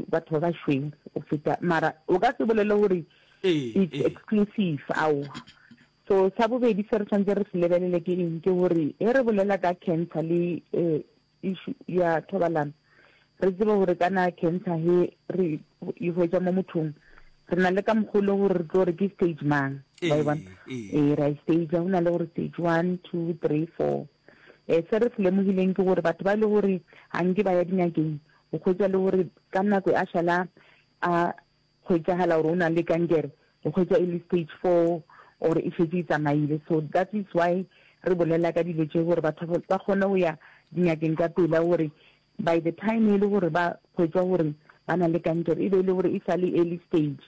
batho ba bašweu go feta, mara o ka se bolele gore it's exclusive, aowa. So sa bobedi se re tshwanetse re se lebelele ke eng, ke gore ge re bolela ka cancer le issue ya thobalano, re tsebe gore kana cancer he re e hwetša mo mothong, re na le ka mokgwa o le gore re tlo re ke stage mang, wa e bona? Ee, ra e stage, go na le gore stage 1, 2, 3, 4. Se re se lemogileng ke gore batho ba e le gore ga nke ba ya dingakeng, o hwetša le gore ka nako a šala a hwetšagala gore o na le kankere, o hwetša e le stage 4 or e šetše e tsamaile. So that is why re bolela ka dilo tše gore batho ba kgone go ya dingakeng ka pela gore by the time e le gore ba hwetšwa gore ba na le kankere e be e le gore e sa le early stage.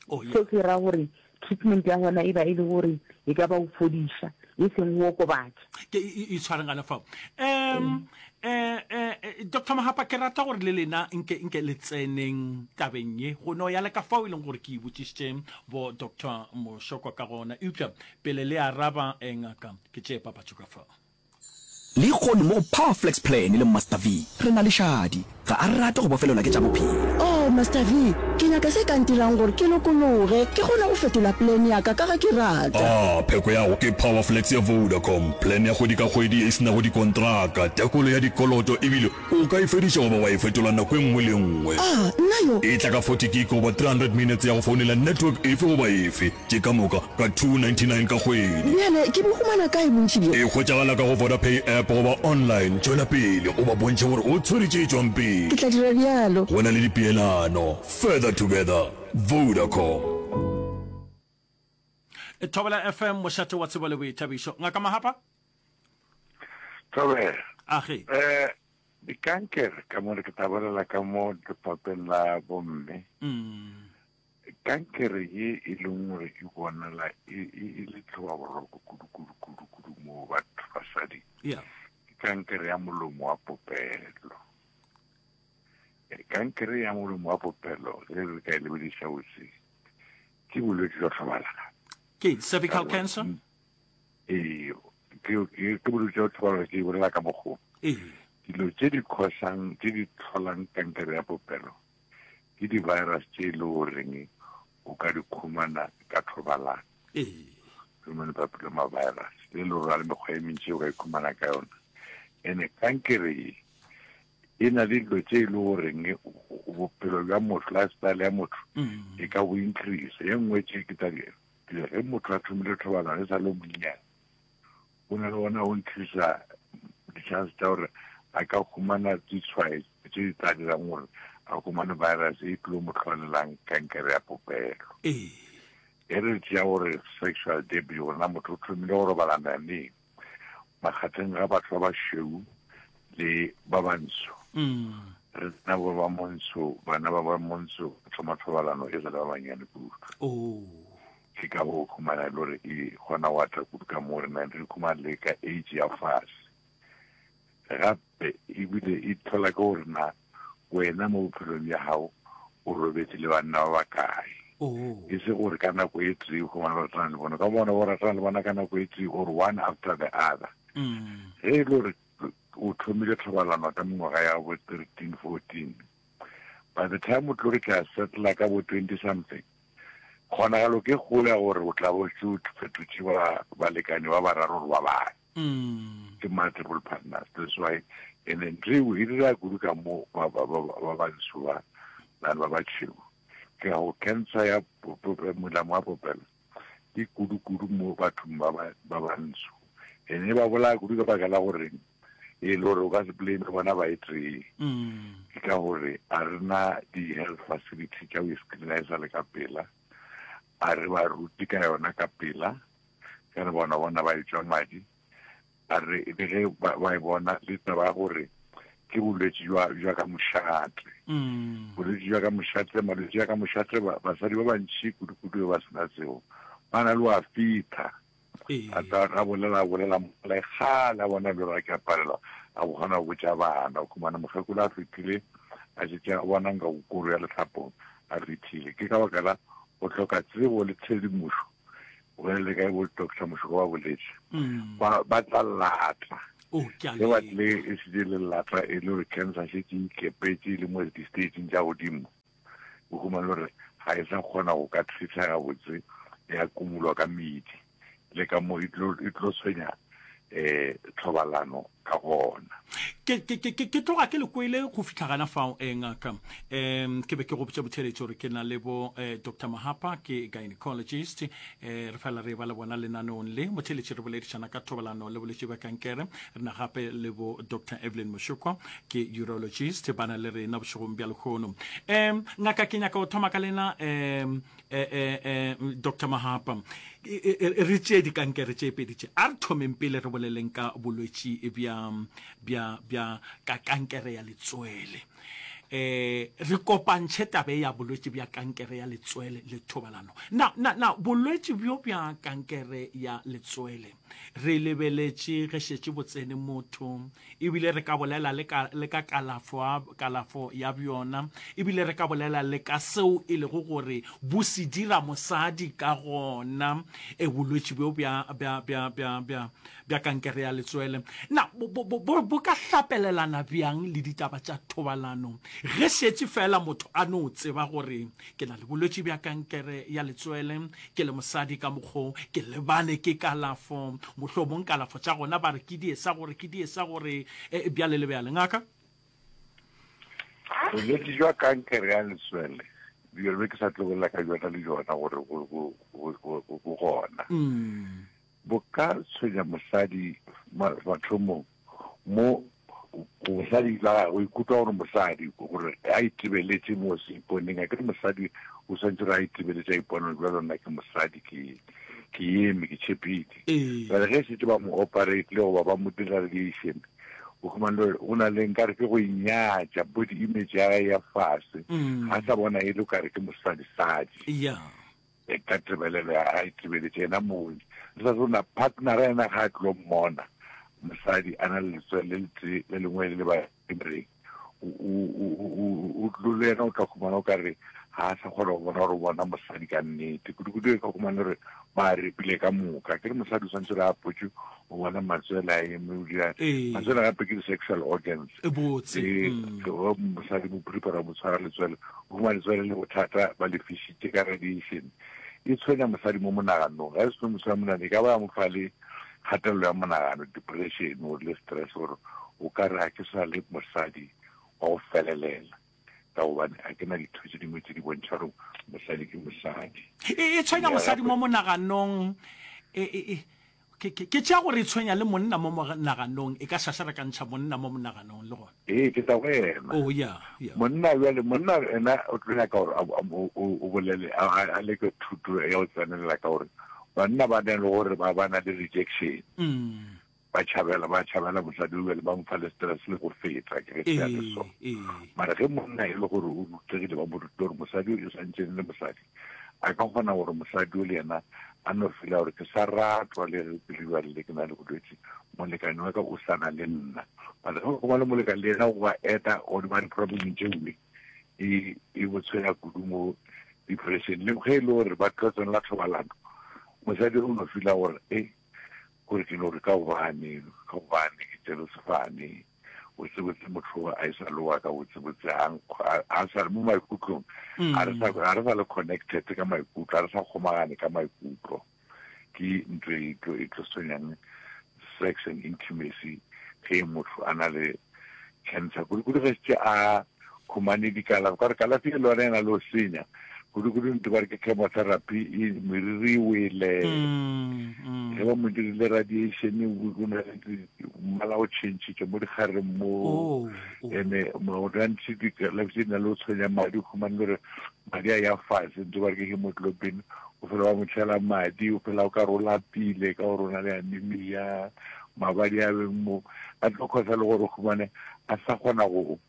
Oh, yeah. Seo se ra gore treatment ya gona e ba e le gore e ka ba go fodiša e seng go okobatša. Ke e tshwareng gana fao. Um eh eh Dr. Mahapa ke rata gore le lena nke nke le tseneng tabeng ye go no ya le ka fao e leng gore ke e botšišitše bo Dr. Moshoko ka gona eupša pele le araba eh, ngaka ke tšee papatšo ka fao. Lehono mo go Power Flex Plan le Master V, re na le Shadi. Ga a rate go bofelelwa ke tša bophelo. Oh, Master V, ke nyaka se ka ntirang gore ke lokologe, ke kgone go fetola plan ya ka ka ge ke rata. Ah, pheko ya go ke Power Flex ya Vodacom, plan ya kgwedi ka kgwedi ye e se nago dikontraka, tekolo ya dikoloto ebile o ka e fediša goba wa e fetola nako e nngwe le e nngwe. Ah, nna yo! E tla ka 40 gig goba 300 minutes ya go founela network efe goba efe. Tše ka moka ka 299 ka kgwedi. Bjale ke bo humana kae bontši bjo? E hwetšagala ka go Vodapay app goba online. Tšwela pele o ba bontšhe gore o tshwere tše tšwang pele. Ke tla dira bjalo. Go na le dipeelano. Further together. Vodacom. Thobela FM, mošate wa tsebo le boithabišo. Ngaka Mahapa? Thobela. Age. Eh, dikankere ka mo re ke tla bolela ka mo lefapheng la bomme. Mm. Kankere ye e leng gore e bonala e, e, e le tlhobaboroko kudu kudu kudu kudu mo batho basadi yeah. ke kankere ya molomo wa popelo. E, kankere ya molomo wa popelo ge re ka e lebediša botse ke bolwetse jwa tlhobalano. Ke cervical cancer? Ee, ke, ke, ke bolwetse jwa tlhobalano ke e bolela ka mokgwa. Ee. Dilo tše di khosang, tše di tlholang kankere ya popelo ke di-virus tše e le goreng o ka di khumana ka thobalano. Ee. Human papilloma virus le le gore le mekgwa e mentši o ka e khumana ka yona. Ene kankere ye e na le dilo tše e le goreng bophelo bja motho, lifestyle ya motho mm. e ka bo increase. E nngwe tše ke tsa ge motho a thomile thobalano e sa le monnyane O na le gona go increasa di-chance tša gore a ka humana ditshwaetso tše di tla dirang gore a humane virus e tlilo mo hlolelang kankere ya popelo. Ee. E re tšea gore sexual debut gore na motho o thomile go robalana neng makgatheng ga batho ba bašweu le ba bantsho. Mm. Re tsena bo ba montsho, bana ba ba montsho ba thoma thobalano e sa le ba bannyane kudu. Oh. Ke ka go khumana e le gore e kgona go ata kudu ka mo re nang re khumana le ka age ya fase. Gape ebile e tlhola ke gore na wena mo bophelong bja gago o robetše le banna ba bakae. Oh. E se gore ka nako e tee o khumana o ratana le bona, ka bona o ratana le bona ka nako e tee or one after the other. Mm. Ge e le gore o thomile thobalano ka mengwaga ya bo 13, 14, by the time o tlo re tla settla ka bo 20 something, Kgonagalo ke kgolo ya gore o tla bo šetše o fetotše ba balekane ba bararo gore ba bane. Ke multiple partners. That's why and then ntho eo e dira kudu ka mo ba ba ba ba bantsho ba nang ba batšhweu. Ke go cancer ya molamo wa popelo ke kudu kudu mo bathong ba ba ba bantsho. And e ba bolaya kudu ka baka la gore e le gore o ka se blame bona ba e tee ke ka gore a re na di-health facility tša go screena e sa le ka pela a re ba rute ka yona ka pela ka re bona bona ba etšwa madi a re le ge ba e bona le taba ya gore ke bolwetši jwa ka mošate bolwetši jwa ka mošate malwetši a ka mošate basadi ba bantši kudu-kudu ba sena tseo ba na le wa fitha A tla a bolela a bolela mola e kgale a bona bjalo a ke a palelwa a go kgona go botša bana. O khumana mokgekolo a fetile a šetše a bona nka koro ya lehlapong a rithile. Ke ka baka la go hloka tsebo le tshedimošo. Go le kae bo Doctor Mošoko ba boletše. Ba ba tla latla. Oh, ke a Ge ba leka. tlile e šetše e le lata e le gore cancer šetše e ikepetše e le mo di-stageng tša godimo, o humane gore ga e sa kgona go ka treatha gabotse, ya kumulwa ka medi le ka mo e tlo e tlo tshwenya um thobalano ka gona. Ke, ke, ke, ke, ke tloga ke le kwele go fihla gana fao, eh, ngaka. Um, ke be ke go botša botheletši gore ke na le bo eh, Doctor Mahapa, ke gynecologist. Eh, re fela re ba le bona lenaneong le. Motheletši re boledišana ka thobalano le bolwetši bja kankere. Re na gape le bo Doctor Evelyn Moshokwa, ke urologist, ba na le rena bošegong bja lehono. Um, ngaka, ke nyaka go thoma ka lena, um, eh, eh, eh, Doctor Mahapa, re tšee dikankere tše pedi tše. A re thomeng pele re boleleng ka bolwetši bja, bja, bja ka kankere ya letswele. Eh, re kopantšhe tabe ya bolwetši bja kankere ya letswele le thobalano. Na, na, na bolwetši bjo bja kankere ya letswele re lebeletše ge šetše bo tsene motho, ebile re ka bolela le ka, le ka kalafo, kalafo ya bjona, ebile re ka bolela le ka seo e lego gore bo se dira mosadi ka gona, e, bolwetši bjo bja, bja, bja, bja, bja, bja kankere ya letswele. Na bo, bo, bo, bo, bo ka hlapelelana bjang le ditaba tša thobalano ge šetše feela motho a no tseba gore ke na le bolwetši bja kankere ya letswele, Ke le mosadi ka mokgo ke lebane ke kalafo, mohlomong kalafo tša gona ba re ke die sa gore, ke die sa gore, e, bjale le bjale. Ngaka? Bolwetši jwa kankere ya letswele, bjalo be ke sa tlo bolela ka bjona le bjona gore bo, bo, bo, bo, bo gona. Mm. Bo ka tshwenya mosadi mathomong mo mosadi la gagwe o ikutlwa gore mosadi gore a itebeletše mo seiponeng a kere mosadi o swantse gore a itebeletše a ipone gore bjalo nna ke mosadi ke ke eme ke tšhepile jale ge setse ba mo operate le goba ba mo dira radiation o khumane gore o na le nkare ke go inyatša body image ya gage ya fase mm. ga sa bona e le kare ke mosadi-sadi yeah. E ka tebelelo ya gae tebeletše yena mong. Re sa tsona partnera yena ga a tlo mmona mosadi a na le letswele le letee le lengwe le le ba reng o tlo le yena o tla khumana o ka re ga a sa kgona go bona gore o bona mosadi ka nnete kudu-kudu e ka khumana gore ba repile ka moka ke re mosadi o swantse re apotse o bona matswele a eme o dira matswele gape ke di-sexual organs botse mm. mosadi mo prepara mo tshwara letswele o fumana letswele le bothata ba le fišitše ka radiation e tshwenya mosadi mo monaganong ga e seno mosadi monagano e ka ba ya mo fa le kgatelelo ya monagano depression or le stress gore o ka re ga ke sa le mosadi wa go felelela ka gobane ga ke na ditho tše dingwe tše di bontšha gore mosadi ke mosadi e, e tshwenya mosadi mo monaganong e, e, e Ke, ke, ke tšea gore e tshwenya le monna mo monaganong, e ka šaša re ka ntšha monna mo monaganong le gona. Ee, ke tla go yena. Oh, ya, ya. Monna bjale, monna ena o tlo nyaka gore a, a, o, o, o bolele, a, a, a leke thuto ya go tsenelela ka gore banna ba na le gore ba, ba na le rejection. Mm. Ba tšhabela, ba tšhabela mosadi o bjale ba mo fa le stress le go feta, ke ge se a le so. Ee, ee. Mara ge monna e le gore o rutegile, ba mo rutile gore mosadi o e swantše le mosadi, A ka kgona gore mosadi o le yena a no fela gore ke sa ratwa le ge ke le bjale le ke na le bolwetši, molekane wa ka o sa na le nna. But ge go ba le molekane le yena go ba eta godimo ga di-problem tšeoe, e, e bo tshwenya kudu mo depression. Le ge e le gore ba tlo tsenela thobalano, mosadi o no fela gore e gore ke no re ka gobane, ka gobane ke tšere sefane. Botsebotse motho a e sa le wa ka botsebotse a a sa le mo maikutlong a re sa a re sa le connected ka maikutlo a re sa kgomagane ka maikutlo ke ntho e tlo e tlo senyang sex and intimacy ge motho a na le cancer kudu-kudu ge šetše a khumane dikalafo ka gore kalafi e le yona e na le go senya kudu-kudu ntho ba re ke chemotherapy e meriri e wele mm, mm. ge ba mo dirile radiation o na le mmala o changitše mo dikgareng mo oh, oh. ene gantši dikalafi tse di na le go tshwenya madi o khumane gore madi a ya fase ntho ba re ke hemoglobin o fela ba mo tšhela madi o fela o ka re o lapile ka gore o na le anemia mabadi a beng mo a tlo kgosa le gore o khumane a sa kgona go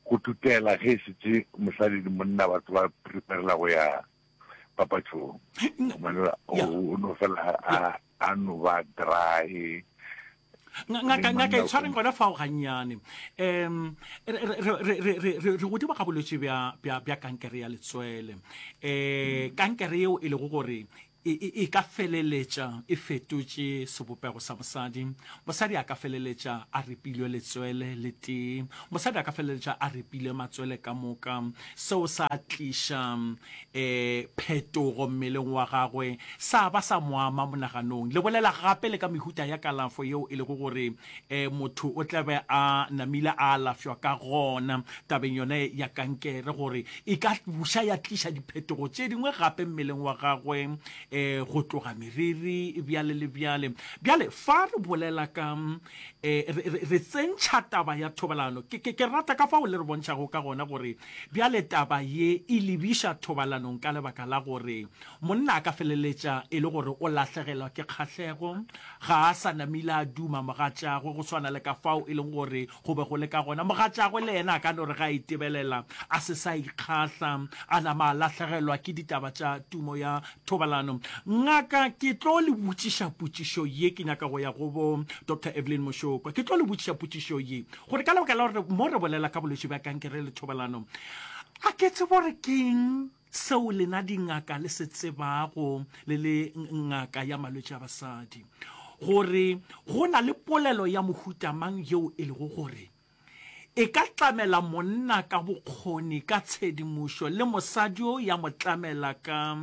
go tutela ge e šetše mosadi le monna batho ba preparela go ya papatšong gobane o no fela a no ba dry ngaka ngaka e tshwareng gona fao gannyane um re godimo ga bolwetse bja kankere ya letswele um kankere yeo e lego gore. E, e, e ka feleletša e fetotše sebopego sa mosadi. Mosadi a ka feleletša a ripilwe letswele le tee. Mosadi a ka feleletša a ripile matswele ka moka. Seo sa tliša e, phetogo mmeleng wa gagwe, sa ba sa mo ama monaganong. Le bolela gape le ka mehuta ya kalafo yeo e lego gore e, motho o tla be a namile a alafšwa ka gona tabeng yone ya kankere, gore e ka buša ya tliša diphetogo tše dingwe gape mmeleng wa gagwe, e, go tloga meriri bjale le bjale. Bjale fa re bolela ka e, re, re, re tsentšha taba ya thobalano, ke, ke, ke rata ka fao le re bontšhago ka gona gore bjale taba ye e lebiša thobalanong ka lebaka la gore monna a ka feleletša e le gore o lahlegelwa ke kgahlego, Ga a sa namile a duma mogatšagwe go swana le ka fao e leng gore go be go le ka gona. Mogatšagwe le yena a ka no re ge a itebelela a se sa ikgahla, a nama a lahlegelwa ke ditaba tša tumo ya thobalano. Ngaka, ke tlo le botšiša potšišo ye, ke nyaka go ya go bo Doctor Evelyn Mošokwa. Ke tlo le botšiša potšišo ye gore ka lebaka la gore mo re bolela ka bolwetši bja kankere le thobalano, a ke tsebe gore keng Seo lena dingaka le se tsebago le le ngaka ya malwetši a basadi, gore go na le polelo ya mohuta mang yeo e lego gore e ka tlamela monna ka bokgoni ka tshedimošo le mosadi yo ya mo tlamela ka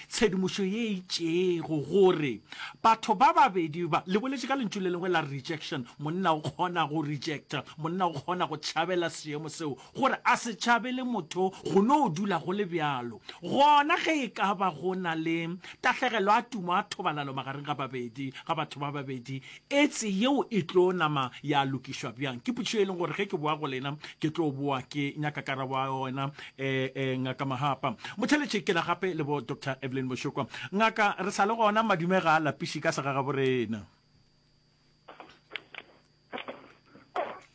tshedimošo ye itšego, gore batho ba babedi ba, le boletše ka lentšu le lengwe la rejection, monna o kgona go rejecta, monna o kgona go tšhabela seemo seo, Gore a se tšhabele motho go no dula go le bjalo. Gona ge e ka ba go na le tahlegelo a tumo a thobalano magareng ga babedi, ga batho ba babedi, etse yeo e tlo nama ya lokišwa bjang? Ke potšišo e leng gore ge ke boa go lena ke tlo boa ke nyaka karabo ya yona, eh, eh, Ngaka Mahapa. Motheletše ke na gape le bo Doctor Evelyn Moshokwa. Ngaka, re sa le gona, madume ga a lapiše ka segagaborena.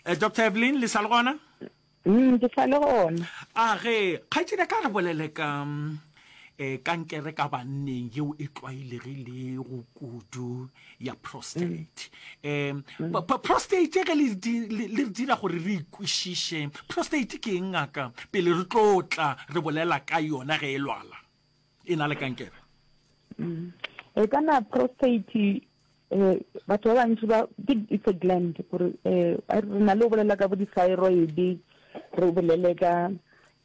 Eh, Dr. Evelyn, le sa le gona? Mm, ke sa le gona. A ge, kgaetšedi ka re bolele ka mm, eh, kankere ka banneng yeo e tlwaelegilego kudu ya prostate. Mm. Eh, prostate ge le le re dira gore re ikwešiše, prostate ke eng ngaka pele re tlo tla re bolela ka yona ge e lwala e na le kankere? Mm. E kana prostate Eh, batho ba bantši ba ke it's a gland gore eh re na le go bolela ka bo di-thyroid re bolele ka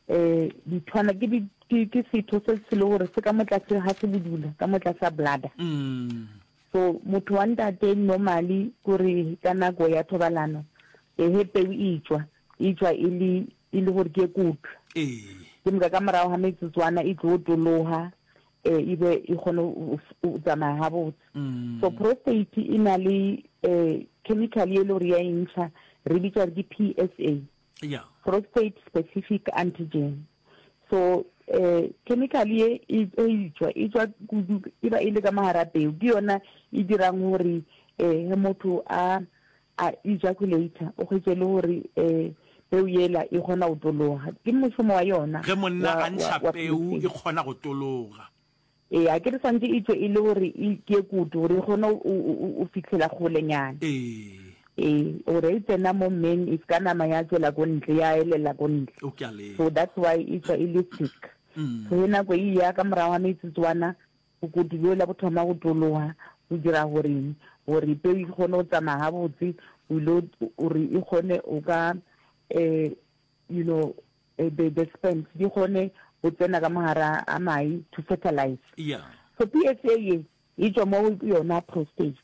eh dithwana ke di ke setho se se le gore se ka mo tlase ga se bodula ka mo tlase ga bladder mm. so motho wa ntate normally kore ka nako ya thobalano ehe peu e tšwa e tšwa e le e le gore ke e kutu ee ke moka ka morago ga metsotswana e tlo tologa eh, e be e kgone go tsamaya gabotse mm. so prostate e na le eh, chemical e le gore ya e ntšha re bitsa gore ke PSA yeah. prostate specific antigen so eh chemical ye e e tšwa e tšwa kudu e ba e le ka mogara peo ke yona e dirang gore eh motho a a ejaculator o hwetše le gore um peu yela e kgona go tologa. Ke mošomo wa yona. Ge monna a ntšha peu e kgona go tologa. Ee, a ke re swantše e tšwe e le gore e ke kudu gore e kgone go fihlela kgolenyana. Ee. Ee, gore e tsena mo mmeng e se ka nama ya tšwela ko ntle, ya elela ko ntle. So that's why e tšwa e le thick. So ge nako e eya ka morago ga metsotswana Bokutu bjola bo thoma go tologa, bo dira gore eng? Gore peu e kgone go tsamaya gabotse, o ile gore e kgone o ka eh, you know, eh, the, the sperms di kgone go tsena ka mogare a mae to fertilize. Yeah. So PSA ye e tšwa mo go yona prostate.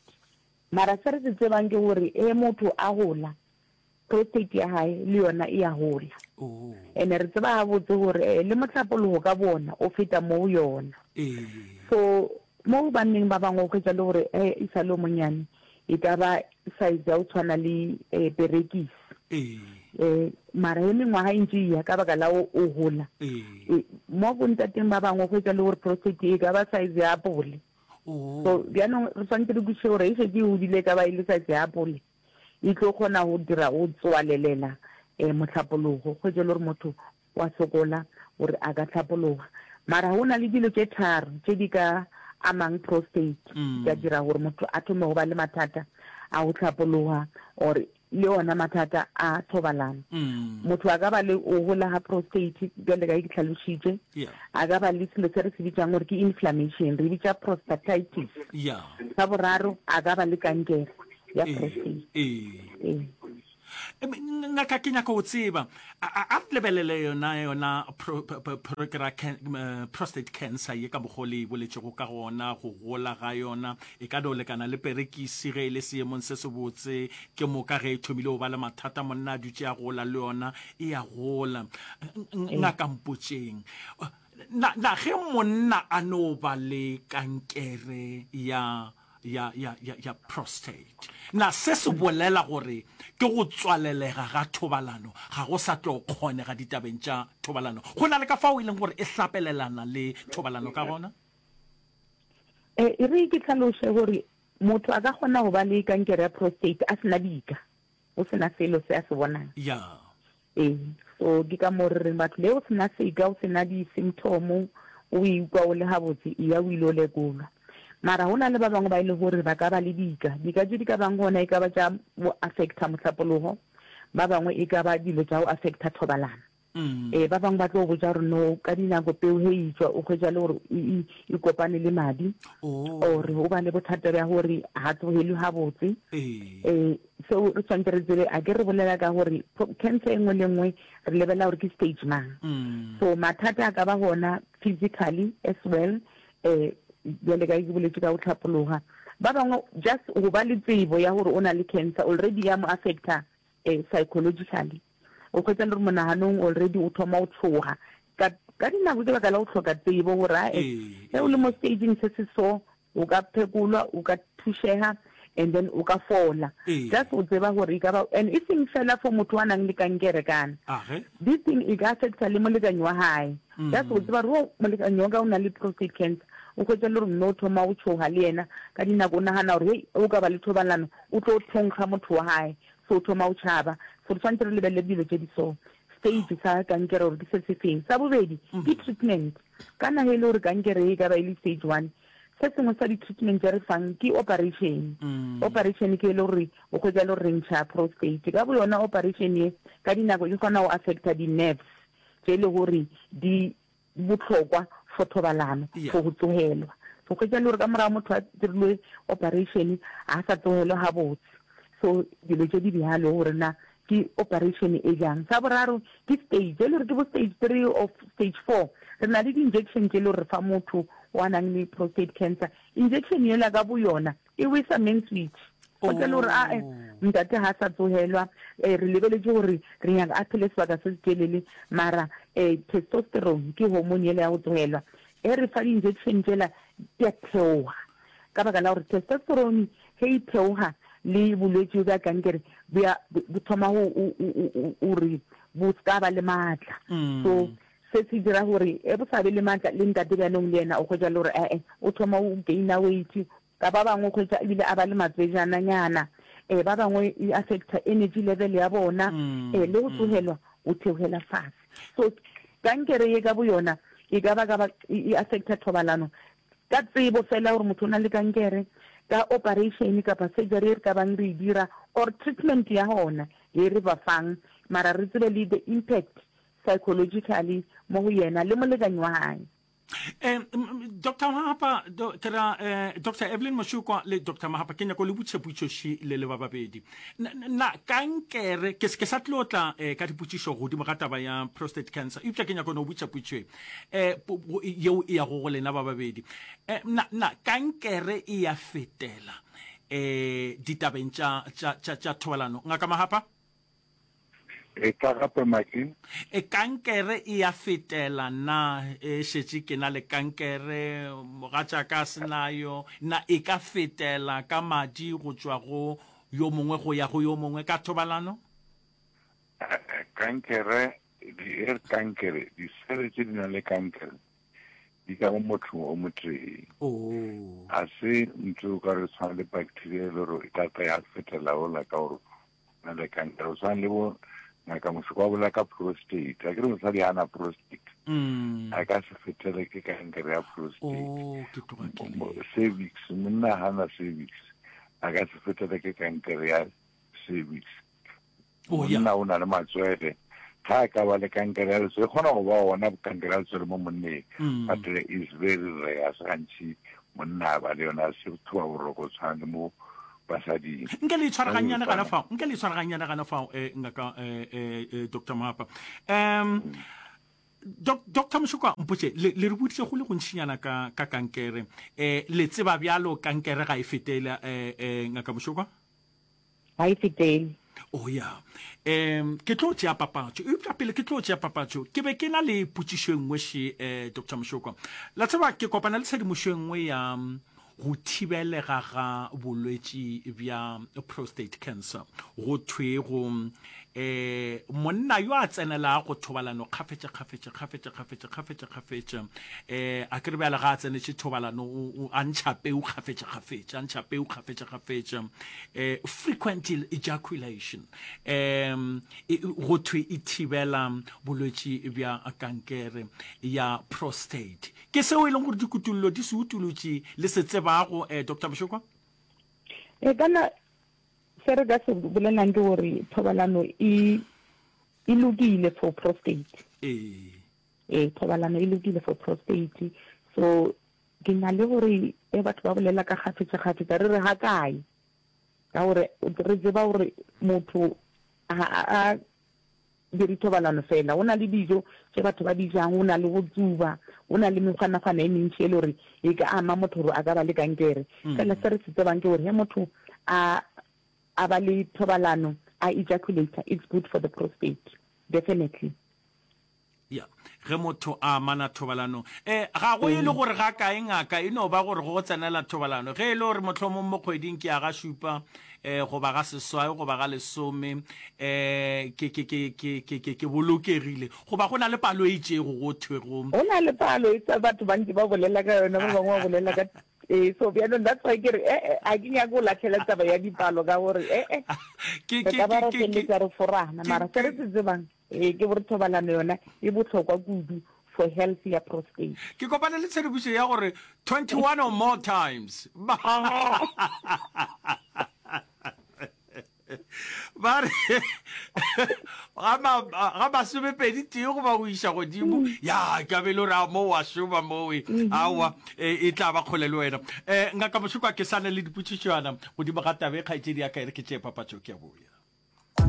Mara se re se tsebang ke gore e motho a gola, Prostate ya gae le yona e a gola. Ene re tseba gabotse gore eh, le mohlapologo ka bona o feta mo go yona. So mo banneng ba bangwe o hwetša le gore eh, e sa le o monyane e ka ba size ya go tshwana le eh, perekisi. Eh, mara he mengwaga e ntše e ya ka baka la o o gola. E, mo bontateng ba bangwe o hwetša le gore prostate e ka ba size ya apole. So bjanong re swanetše re kwešiše gore e šetše e godile e ka ba e le size ya apole. E tlo kgona go dira go tswalelela mohlapologo, hwetše le gore motho wa sokola gore a ka hlapologa. Mara go na le dilo tše tharo tše di ka amang prostate, di ka dira gore motho a thome go ba le mathata a go hlapologa or. le ona mathata a thobalano. Motho a ka ba le go gola ga prostate bjale ka ge ke hlalošitše, a ka ba le selo se re se bitšang gore ke inflammation, re bitša prostatitis. Sa boraro, a ka ba le kankere ya prostate. Ee. Ngaka, ke nyaka go tseba, a re lebelele yona yona ke ra prostate cancer ye ka mokgwa o le e boletšego ka gona, go gola ga yona e ka no lekana le perekisi ge e le seemong se sebotse, ke moka ge e thomile go ba le mathata monna a dutše a gola le yona e a gola. Ngaka mpotšeng, na, na ge monna a no ba le kankere ya ya, ya, ya, ya prostate. Na se se bolela gore ke go tswalelega ga thobalano ga go sa tlo kgonega ditabeng tša thobalano? Go na le ka fao e leng gore e hlapelelana le thobalano ka gona? E, e re ke hlaloše gore motho a ka kgona go ba le kankere ya prostate a se na dika, go se na selo se a se bonang. Ya. Ee, so ke ka moo re reng batho le o se na seka, o se na di-symptom, o ikwa o le gabotse, eya o ile o lekolwa. Mara go na le ba bangwe ba e le gore ba ka ba le dika. Dika tše di ka bang gona e ka ba tša go affecta mohlapologo, ba bangwe e ka ba dilo tša go affecta thobalano. Ee, ba bangwe ba tlo botša gore no, ka dinako peu ge e tšwa o hwetša le gore e, e kopane le madi, or o ba le bothata bja gore ga tsogelwe gabotse. Ee, Seo re tshwanetse re tsebe, a ke re bolela ka gore cancer e nngwe le nngwe re lebelela gore ke stage mang. So mathata a ka ba gona physically as well, um bjale ka ke boletše ka go hlapologa. Ba bangwe just go ba le tsebo ya gore o na le cancer already ya mo affecta um psychologically. O hwetša le gore monaganong already o thoma o tshoga. Ka ka dinako ke baka la go hloka tsebo gore ae ge o le mo stageng se se so O ka phekolwa, o ka thušega and then o ka fola. Just o tseba gore e ka ba, and e seng fela for motho wa nang le kankere kana. This thing e ka affecta le molekani wa hae. Just o tseba gore oh molekani wa ka o na le prostate cancer, o hwetša le gore mme o thoma o tšhoga le yena ka dinako o nagana gore hei o ka ba le thobalano o tlo thonkga motho wa hae, so o thoma o tšhaba. So re tshwanetse re lebelele dilo tše di so. Stage sa kankere gore ke se se feng. Sa bobedi ke treatment. Kana ge e le gore kankere e ka ba e le stage one, Se sengwe sa di-treatment tše re fang ke operation. Operation ke e le gore o hwetša e le gore re ntšha prostate. Ka boyona operation ye ka dinako e kgona go affecta di-nerves tše e le gore di bohlokwa for thobalano, for go tsogelwa. So hwetša e le gore ka morago motho a dirilwe operation ga a sa tsogelwa gabotse. So dilo tše di bjalo gore na ke operation e bjang. Sa boraro ke stage, e le gore ke bo stage 3 or stage 4. Re na le di-injection tše le gore re fa motho wa nang le prostate cancer. Injection yela ka bo yona e wesa main switch. O tla le gore ae ntate ga a sa tsogelwa, re lebeletše gore re nyaka a phele sebaka se se telele, mara testosterone ke hormone yela ya go tsogelwa. Ge re fa di-injection tšela di a theoga ka baka la gore testosterone Ge e theoga, le bolwetši bja kankere bo ya bo thoma go gore bo se ka ba le maatla. So se se dira gore ge bo sa be le maatla, le ntate bjanong le yena o hwetša le gore ee o thoma o gainer weight. Ka ba bangwe o hwetša ebile a ba le matswejananyana. Um ba bangwe e affecta energy level ya bona, um le go tsogelwa o theogela fase. So kankere ye ka boyona e ka ba ka ba e affecta thobalano Ka tsebo fela gore motho o na le kankere, ka operation kapa surgery e re ka bang re e dira or treatment ya gona ye re ba fang, mara re tsebe le the impact psychologically mo go yena le molekani wa gae. Eh, Doctor Mahapa, do, ke ra eh, Doctor Evelyn Moshukwa le Doctor Mahapa, ke nyako le butše putšoši le le ba babedi. Na, na kankere, ke, ke sa tlo tla eh, ka dipotšišo godimo ga taba ya prostate cancer, eupša ke nyako no butša putšo e. eh, yeo e yago go lena ba babedi eh, na, na kankere e ya fetela eh, ditabeng tša, tša, tša, tša thobalano ngaka Mahapa? E ka gape Maki? E kankere e ya fetela na e šetše ke na le kankere mogatšaka a se nayo na e ka fetela ka madi go tšwa go yo mongwe go ya go yo mongwe ka thobalano? Kankere Di re kankere, disele tše di nang le kankere di ka mo mothong o motee. Oh. A se ntho o ka re tshwana le bacteria e le gore e ka tla ya fetela ola ka gore na le kankere. O tshwana le bo ngaka Moshoko wa bolela ka prostate. A ke re mosadi ga na prostate. Mm. A ka se fetele ke kankere ya prostate. Oh, ke tloga ke le. Cervix, monna ga na cervix. A ka se fetele ke kankere ya cervix. Oh, yeah. Monna o na le matswele. Ga a ka ba le kankere ya letswele, e kgona go ba gona kankere ya letswele mo monneng, mm. but is very rare, se gantši monna a ba le yona, se thoba boroko tshwana le mo basading. Nke le itshwara gannyane gana fao, nke le itshwara gannyane gana fao, eh, ngaka eh, eh, eh, Dr. Mahapa. Um, mm. Dr. Moshoka mpotše le le re boditše go le gontšinyana ka ka kankere eh le tseba bjalo kankere ga e fetele eh eh ngaka Moshoka Ga e fetele. Oh ya. Um ke tlo tšea papatšo. Eupša pele ke tlo tšea papatšo, ke be ke na le potšišo e nngwe še, eh, Doctor Mošokwa. La tseba, ke kopana le tshedimošo e nngwe ya go thibelega ga bolwetši bja prostate cancer. Go thwego eh monna yo a tsenelago thobalano kgafetša kgafetša kgafetša kgafetša kgafetša kgafetša eh a ke re bjale ga a tsenetše thobalano a ntšha peu kgafetša kgafetša a ntšha peu kgafetša kgafetša eh frequent ejaculation um go thwe e thibela bolwetši bja kankere ya prostate ke seo e leng gore dikutullo di se utulotše le se tsebago eh Dr. Moshokwa e kana Se re ka se bolelang ke gore thobalano e e lokile for prostate. Ee. Ee, thobalano e lokile for prostate. So ke na le gore e batho ba bolela ka kgafetša kgafetša re re ga kae? Ka gore re tseba gore motho ga a dire thobalano fela. Go na le dijo tše batho ba di jang, go na le go tsuba, go na le mekgwanakgwana e mentši e le gore e ka ama motho gore a ka ba le kankere. Fela se re se tsebang ke gore ge motho a a ba le thobalano a ejaculator, it's good for the prostate, definitely. Ya, ge motho a amana thobalanong. E, ga go e le gore ga kae ngaka, e no ba gore go tsenela thobalano. Ge e le gore mohlomong mo kgweding ke ya ga šupa, e, goba ga seswai, goba ga lesome, e, ke, ke, ke, ke, ke, ke, ke bolokegile. Goba go na le palo e itšego go thwego. Go na le palo e tsa batho bantši ba bolela ka yona, ba bangwe ba bolela ka ee, so bjanong that's why ke re ee, a ke nyake go lahlela taba ya dipalo ka gore ee, Ke, re ke, ka ba ke, ra ke, ke, feleletša re forana, ke, mara se re ke, se tsebang Ee, ke gore thobalano yona e bohlokwa kudu for health ya prostate. Ke kopane le tshedimošo ya gore 21 or more times. Ba ba re ga ma ga masomepedi tee goba go iša godimo ya ka be le gore a mo wa šoma mowe aowa e e tla ba kgole le wena um ngaka mošokwa ke sane le dipotšišwana godimo ga tabe kgaetšedi ya ka e re ke tšee papatšo ke a boya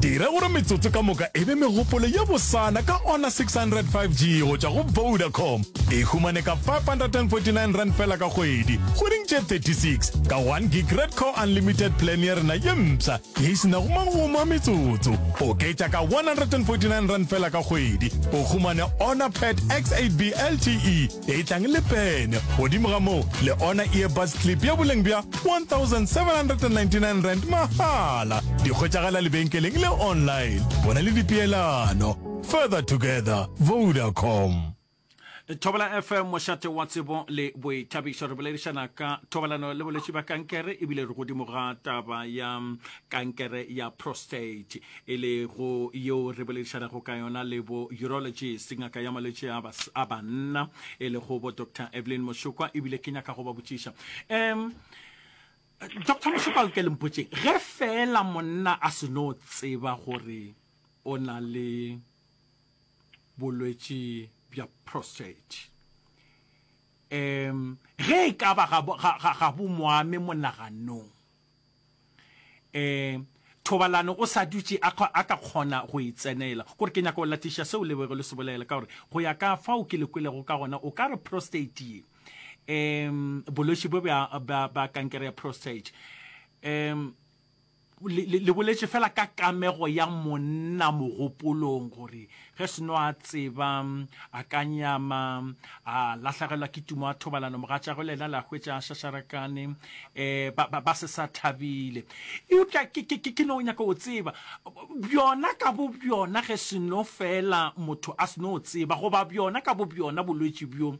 Dira gore metsotso ka moka e be megopolo ye bosana ka Honor 600 5G go tšwa go Vodacom. E humane ka R549 fela ka kgwedi, kgweding tše 36, ka 1 gig Red Core Unlimited plan ya rena ye mpsha ye e se nago magomo a metsotso. Oketša ka R149 fela ka kgwedi, o humane Honor Pad X8B LTE e tlang le pene. Godimo ga moo, le Honor Earbuds Clip ya boleng bja R1799 mahala. Di hwetšagala lebenkeleng le online. Bona le dipeelano. Further together, Vodacom. Thobela FM, mošate wa tsebo le boithabišo. Re boledišana ka thobalano le bolwetši bja kankere ebile re godimo ga taba ya kankere ya prostate e lego yeo re boledišanago ka yona le bo urologist, ngaka ya malwetši a, a banna e lego bo Dr Evelyn Moshokwa ebile ke nyaka go ba botšiša um Dr Moshokwa ke le mpotšeng ge fela monna a se no tseba gore o na le bolwetši bja prostate um ge e ka ba ga, ga, ga, ga bo moame monaganong um thobalano o sa dutše a, a ka kgona go e tsenela gore ke nyaka go latiša seo le bego le se bolela ka gore go ya ka fao ke le kwelego ka gona o ka re prostate ye um bolwetši bo bja, bja, bja kankere ya prostate um Le, le, le boletše fela ka kamego ya monna mogopolong, gore ge seno a tseba, a ka nyama, a lahlegelwa ke tumo ya thobalano, mogatšagwe le yena le a hwetša a šašarakane, um ba, ba, ba se sa thabile. Eupša ke, ke, ke, ke no nyaka go tseba, bjona ka bo bjona ge seno fela motho a seno tseba, goba bjona ka bo bjona bolwetši bjo,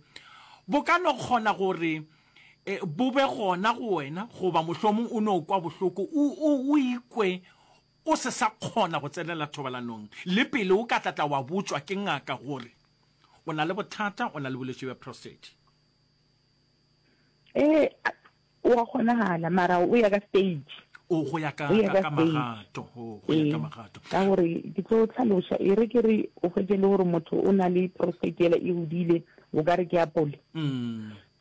bo ka no kgona gore e, bo be gona go wena, goba mohlomong o no kwa bohloko, o, o, o ikwe o se sa kgona go tsenela thobalanong, le pele o ka tla tla wa botšwa ke ngaka gore o na le bothata, o na le bolwetši bja prostate. Ee, o a kgonagala, mara o ya ka stage. O go ya ka, ka, ka magato. O go ya ka magato. Ka gore ke tlo tlhaloša, e re ke re o hwetše le gore motho o na le prostate yela e godile, o ka re ke apole.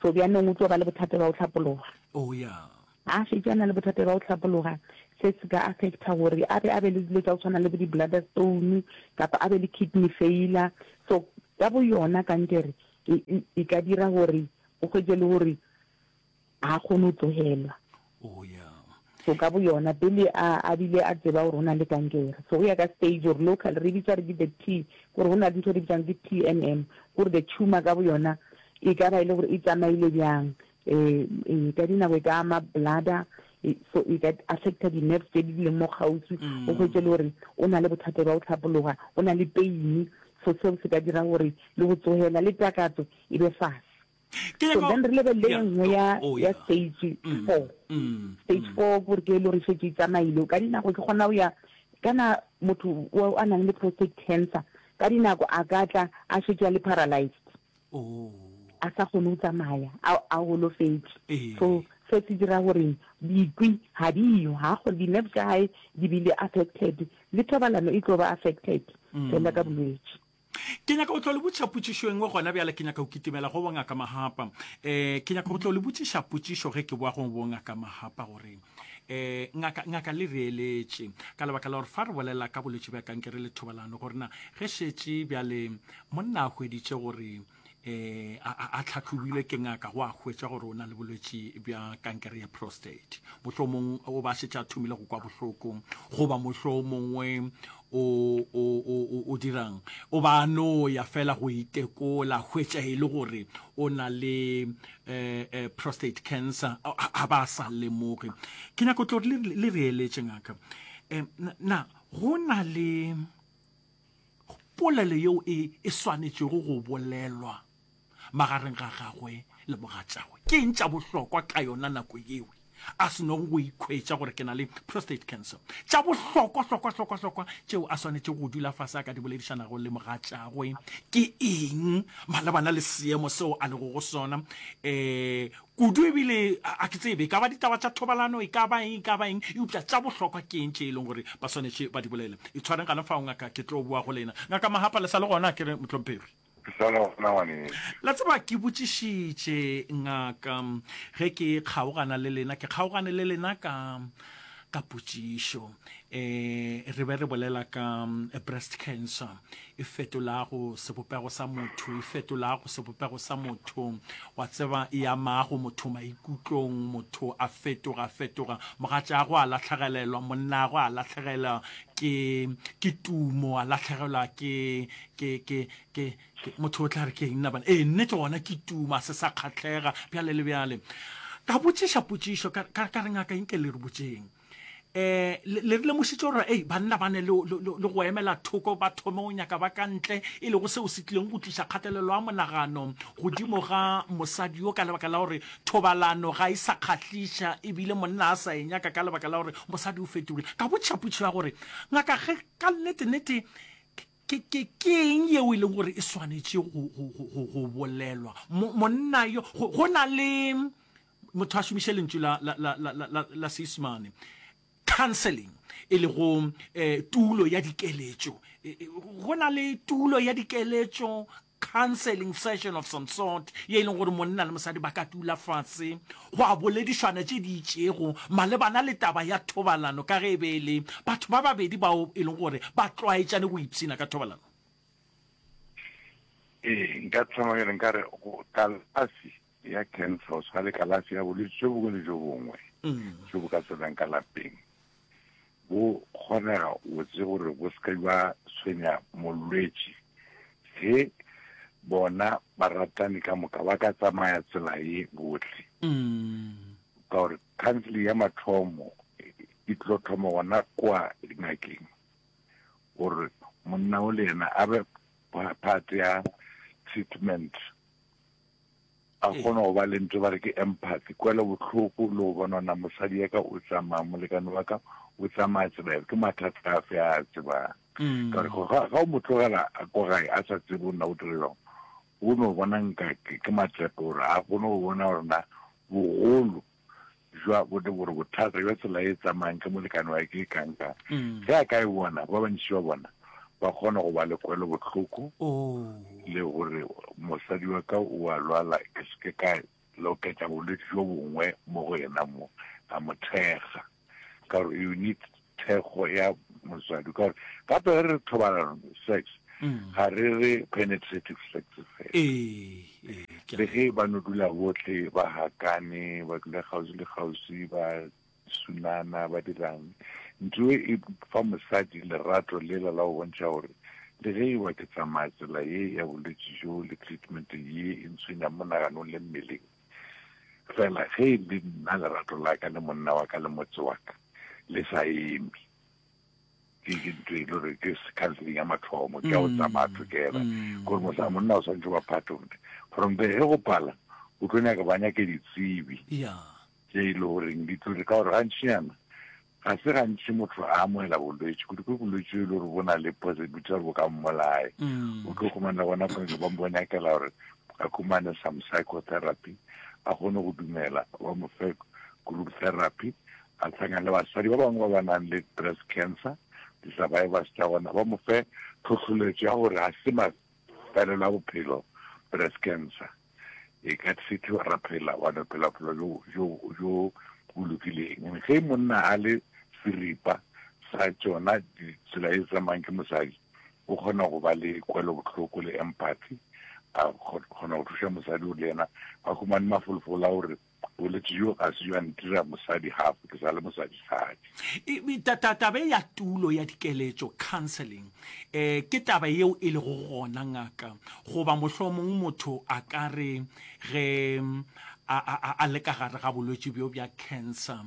So bjanong o tlo ba le bothata bja go hlapologa. Oh ya. A šetše a na le bothata bja go hlapologa, se se ka affecta gore a be a be le dilo tša go tshwana le bo di-bladder stone kapa a be le kidney failure. So ka bo yona kankere e, e, e ka dira gore o hwetše le gore ga a kgone go tlogelwa. Oh, yeah. So ka bo yona pele a a bile a tseba gore o na le kankere. So go ya ka stage gore local re bitsa re ke the T gore go na le ntho re bitsang ke TNM gore the tumor ka bo yona e ka ba e le gore e tsamaile bjang. Eh, eh ka dinako e ka ama bladder e, so e ka affecta di-nerves tse di leng mo kgauswi o hwetše le gore o na le bothata bja go hlapologa o na le pain so seo se ka dira gore le go tsogela le takatso e be fase. Ke So nyaka then re lebelele yeah. e nngwe ya Oh, ya yeah. stage Mm, 4. mm, Stage mm. 4 gore ke e le gore e šetše e tsamaile. Ka dinako ke kgona go ya kana motho o a nang le prostate cancer ka dinako a ka tla a šetše a le paralyzed. Oh. A sa kgone go tsamaya, a a golofetše. Ee. So se se dira gore dikwi ga di yo, ga kgone di-nerve tša gae di bile affected le thobalano e tlo ba affected fela ka bolwetši. Ke nyaka go tlo le botšiša potšišo e nngwe gona bjale. Ke nyaka go kitimela go bongaka Mahapa. Um ke nyaka go tlo le botšiša potšišo ge ke boa go bongaka Mahapa gore um ngaka, ngaka le re eletše ka lebaka la gore fa re bolela ka bolwetši bja kankere le thobalano gore na ge šetše bjale monna a hweditše gore eh a tlhatlhobilwe ke ngaka go a hwetša gore o na le bolwetši bja kankere ya prostate mohlomong o ba šetše a thomile go kwa bohloko goba mohlomongwe o o o o dirang o ba no ya fela go itekola hwetša e le gore o na le eh, eh, prostate cancer a ba sa lemoge ke nyako tlo le re eletše ngaka eh, na go na le Polelo yeo e e swanetšego go bolelwa magareng ga gagwe le mogatšagwe ke eng tša bohlokwa ka yona nako yeo a senogo go ikhwetša gore ke na le prostate cancer? Tša bohlokwa hlokwa hlokwa hlokwa tšeo a swanetšego go dula fase a ka di boledišanago le mogatšagwe ke eng malebana le seemo seo a lego go sona? Um Kudu ebile a ke tsebe, e ka ba ditaba tša thobalano, e ka ba eng, e ka ba eng, eupša tša bohlokwa ke eng tše e leng gore ba swanetše ba di bolele. Itshwareng gana fao, ngaka, ke tlo boa go lena. Ngaka Mahapa, le sa le gona, ke re, mohlomphegi? Ke sa le gona, ngwanešu. La tseba, ke botšišitše, ngaka, ge ke kgaogana le lena, ke kgaogane le lena ka, ka potšišo. Um re be re bolela ka breast cancer. e fetolago sebopego sa motho, e fetolago sebopego sa motho, wa tseba, e amago motho maikutlong, motho a fetoga, fetoga, mogatšago a lahlegelelwa, monnago a lahlegelwa ke, ke tumo, a lahlegelwa ke, ke, ke, ke, ke, motho o tla re ke eng na bana? Ee, nnete gona ke tumo, a se sa kgahlega, bjale le bjale. Ka botšiša potšišo, ka, ka, ka re ngaka nke le re botšeng. eh le re lemošitše gore ei banna ba ne le go emela thoko ba thome go nyaka ba ka ntle e lego seo se tlileng go tliša kgatelelo ya monagano godimo ga mosadi yo ka lebaka la gore thobalano ga e sa kgahliša ebile monna a sa e nyaka ka lebaka la gore mosadi o fetogile. Ka botšiša potšišo ya gore ngaka ge ka nnete-nnete ke ke ke eng yeo e leng gore e swanetše go go go go bolelwa monna yo go na le motho a šomiše lentšu la, la, la, la, la, la Seisemane, counseling, e lego eh, tulo ya dikeletšo. E, e, go na le tulo ya dikeletšo, counseling session of some sort, ye e leng gore monna le mosadi ba ka tula fase go a boledišwana tše di itšego malebana le taba ya thobalano, ka ge e be e le batho ba babedi bao e leng gore ba tlwaetšane go ipshina ka thobalano. Ee, nka thoma bjale nka re kalafi ya cancer o tshwana le kalafi ya bolwetse jo bongwe le jo bongwe jo bo ka tsenang ka lapeng bo kgonega botse gore bo se ka ba tshwenya molwetši ge bona baratani ka moka ba ka tsamaya tsela ye bohle ka gore counseling ya mathomo e tlo thoma gona kwa dingakeng gore monna o le yena a be part ya treatment a kgone go ba le ntho ba re ke empathy, kwelobohloko le go bona na mosadi ya ka o tsamaya, molekane wa ka o tsamaya tsela efe, ke mathata afe a a tsebang. Mm. Ka gore ga o mo tlogela a ko gae a sa tsebe o nna o dire jang, o no bona nka ke matepe gore a kgone go bona gore na bogolo. jwa bo gore bothata jwa tsela e tsamayang ke molekane wa ke kang-kang. Ge a ka e bona, ba bantši ba bona ba kgona go ba le kwelobohloko le gore mosadi wa ka o a lwala, ke se ke ka loketša bolwetši bjo bongwe mo go yena mo, a mo thekga. Ka gore you need thekgo ya motswadi. Ka gore gape ge re re thobalano, sex, ga re re penetrative sex fela. Le ge ba no dula bohle ba hakane, ba dula kgauswi le kgauswi, ba sunana, ba dirang, ntho e e fa mosadi lerato lela la go bontšha gore le ge e ba ke tsamaya tsela ye ya bolwetši bjo le treatment ye e ntshwenyang monaganong le mmeleng, fela ge e le nna lerato la ka le monna wa ka le motse wa ka le sa eme. Ke ke ntho e le gore ke counseling ya mathomo, ke ya go tsamaya together. Gore mosa monna o swanetše go ba part of it. From there ge go pala, o tlo nyaka ba nyake ditsebi. Tše e le goreng di tlo ka gore gantšinyana ga se gantši motho a amogela bolwetši, kudu-kudu bolwetši e le gore bo na le possibility ya gore bo ka mmolaya. O tlo khumana gona pele ba mo nyakela gore a khumane some psychotherapy, a kgone go dumela, ba mo fe group therapy, a hlangane le basadi ba bangwe ba ba nang le breast cancer, di-survivors tša gona, ba mo fe tlhohloletšo ya gore ga se mafelelo a bophelo breast cancer. E ka treatiwa ra phela, wa no phela bophelo bjo, bjo, bjo bo lokileng. And ge monna a le seripa sa tšona tsela e tsamayang ke mosadi, o kgona go ba le kwelobohloko le empathy, a kgona go thuša mosadi gore le yena a humane mafolofolo a gore bolwetši bjo ga se bja ntira mosadi half, ke sa le mosadisadi. Taba e ya tulo ya dikeletšo, counseling, um ke taba yeo e lego gona ngaka, goba mohlomong motho a ka re ge a, a, a le ka gare ga bolwetši bjo bja cancer,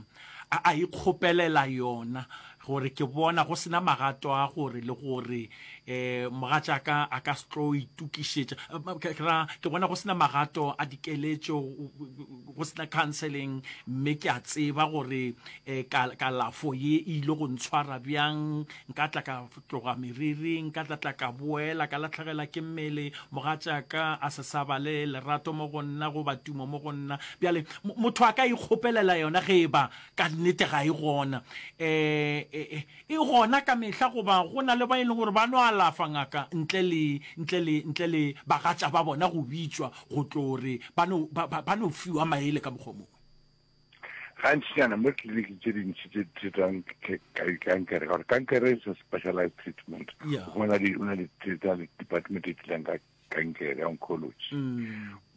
a, a ikgopelela yona gore ke bona go sena magato a gore le gore um mogatšaka a ka se tlo itokišetša, ke ra ke bona go sena magato a dikeletšo, go sena counseling, mme ke a tseba gore um kalafo ye e ile go ntshwara bjang, nka tla ka tloga meriri, nka tla tla ka boela ka lahlegela ke mmele, mogatšaka a se sa ba le lerato mo go nna goba tumo mo go nna. Bjale motho a ka ikgopelela yona ge e ba ka nnete ga e gona. Um e gona ka mehla goba go na le ba e leng gore ba no alafa ngaka ntle le, ntle le, ntle le bagatša ba bona go bitšwa go tlo re ba no, ba, ba, ba no fiwa maele ka mokgwa o mongwe. Gantšinyana mo ditleliniking tše dintši tše di treatang kankere, ka gore kankere is a specialized treatment. Yeah. O na le, o na le department e dealang ka kankere ya oncology.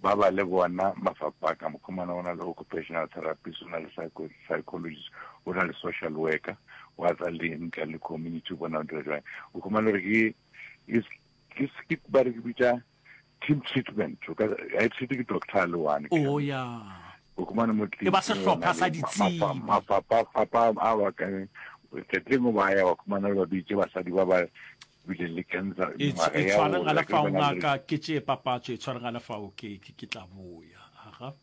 Ba ba le bona mafapha ka mokgwa mona, o na le occupational therapist, o na le psychologist, o na le social worker, wa tsa le nka le community, o bona o dira jwang. O khumana gore ke, ke, ke, ba re ke bitša team treatment. O ka, ha e treat ke doctor a le one. Oh, yeah. O khumana mo E ba sehlopha sa ditsebi. Mafapha, mafapha a ba ka, tletleng ba ya, wa khumana le ba bitše basadi ba ba bileng le cancer. E tshwareng gana fao ngaka, ke tšee papatšo, e tshwareng gana fao ke, ke, ke tla boya. Aga.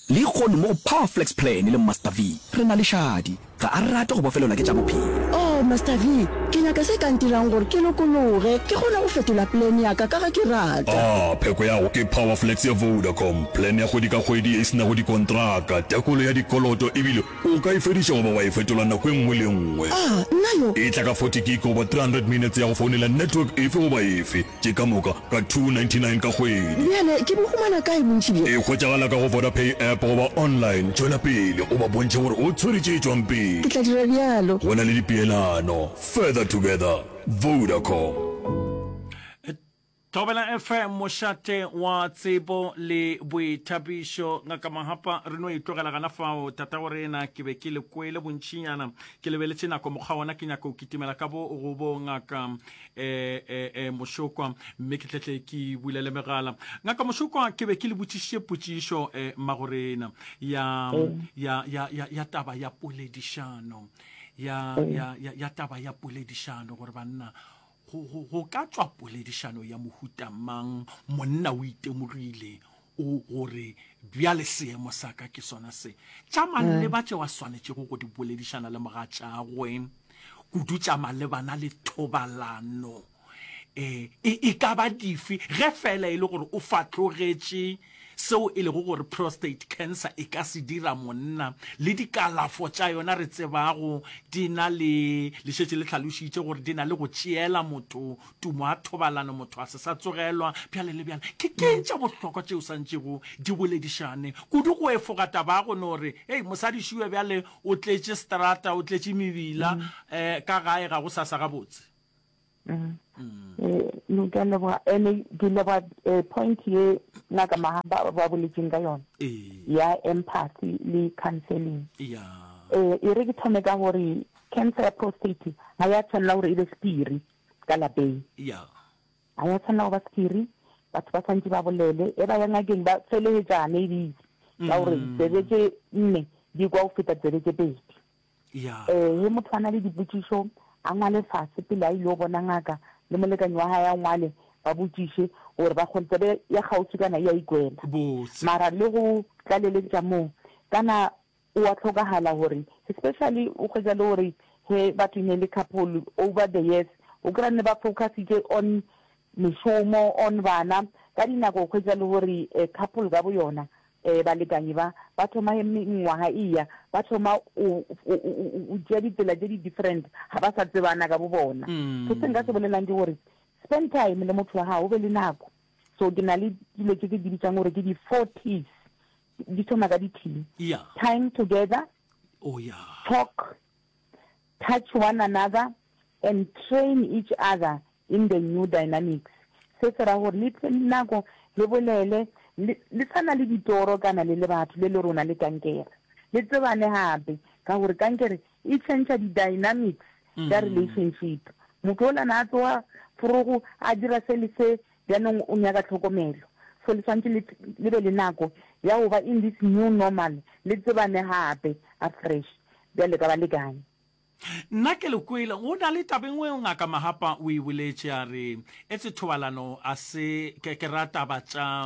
Lehono mo go Powerflex Plan le Master V re na le Shadi. Ga a rate go bofelelwa ke tša bophelo. Oh, Master V, ke nyaka se ka ntirang gore ke lokologe, ke kgone go fetola plan ya ka ka ge ke rata. Ah, pheko ya go ke Powerflex ya Vodacom, plan ya kgwedi ka kgwedi ye e se nago dikontraka, tekolo ya dikoloto ebile o ka e fediša goba wa e fetola nako e nngwe le e nngwe. Ah, nna yo! E tla ka 40 gig goba 300 minutes ya go founela network efe goba efe. Tše ka moka ka 299 ka kgwedi. Bjale ke bo humana kae bontši bjo? E hwetšagala ka go Vodapay app goba online. Tšwela pele o ba bontšhe gore o tshwere tše tšwang pele. Ke tla dira bjalo. Go na le dipeelano. Further together. Vodacom. Thobela FM, mošate wa tsebo le boithabišo. Ngaka Mahapa, re no e tlogela gana fao. Tatago rena, ke be ke le kwele bontšinyana. Ke lebeletše nako mokgwa wona, ke nyaka go kitimela ka bo go bo ngaka eh, eh, eh, Mošokwa, mme ke tletle ke bulele megala. Ngaka Mošokwa, ke be ke le botšišitše potšišo eh, mmagorena ya, ya, ya, ya, ya taba ya poledišano, ya, ya, ya, ya taba ya poledišano gore banna go, go, go ka tšwa poledišano ya mohuta mang, monna o itemogile o gore bjale seemo sa ka ke sona se. Tša maleba tšeo a swanetšego go di boledišana le mogatšagwe, kudu tša malebana le thobalano. E, e, e ka ba dife ge feela e le gore o fatlogetše seo e lego gore prostate cancer e ka se dira monna, le dikalafo tša yona re tsebago di na le, le šetše le hlalošitše gore di na le go tšeela motho tumo a thobalano, motho a se sa tsogelwa, bjale le bjale. Ke ke'ng tša bohlokwa tšeo santšego di boledišane kudu go efoga taba ya go no re, Hei, mosadi šue bjale o tletše seterata, o tletše mebila, um ka gae ga go sa sa gabotse? Mm. No, ke a leboga. Ene ke leboga eh, point ye ngaka Mahamba ba boletseng ka yona ya empathy le counseling. Eh, e re ke thome ka gore cancer ya prostate ga ya tshwanela gore e be sephiri ka lapeng. Ga ya tshwanela go ba sephiri, batho ba tshwanetse ba bolele, e ba ya ngakeng ba felegetšane ebile ka gore tsebe tše nne di kwa go feta tsebe tše pedi. Ya. Ee, ge motho a na le dipotšišo, a ngwale fase pele a ile bona ngaka, le molekani wa gae a ngwale, ba botšiše gore ba kgone, tsebe ya kgauswi kana e a ikwela. Botse. Mara le go tlaleletša moo, kana o a hlokagala gore, especially o hwetša le gore ge batho e ne le couple over the years, o kry-a ne ba focusitše on mešomo, on bana, ka dinako o hwetša le gore couple ka boyona Ee, balekani ba, ba thoma ge mengwaga e eya, ba thoma go, go, go tšea ditsela tše di different, ga ba sa tsebana ka bo bona. So se nka se bolelang ke gore, spend time le motho wa gago, o be le nako. So ke na le dilo tše ke di bitsang gore ke di four T's, di thoma ka di T. Yeah. Time together, Oh yeah. talk, touch one another and train each other in the new dynamics. Se se ra gore le tle nako le bolele le, le sa na le ditoro kana le le batho le le rona le kankere. Le tsebane gape ka gore kankere e tšhentšha di dynamics tša relationship. Motho ola na a tsoga forogo a dira se le se bjanong o nyaka tlhokomelo. So le swantše le, le be le nako ya go ba in this new normal le tsebane gape afresh bjale ka balekane. Nna ke le kwele. Go na le taba e nngwe Ngaka Mahapa o e boletše, a re, Etse thobalano a se, ke, ke ra taba tša,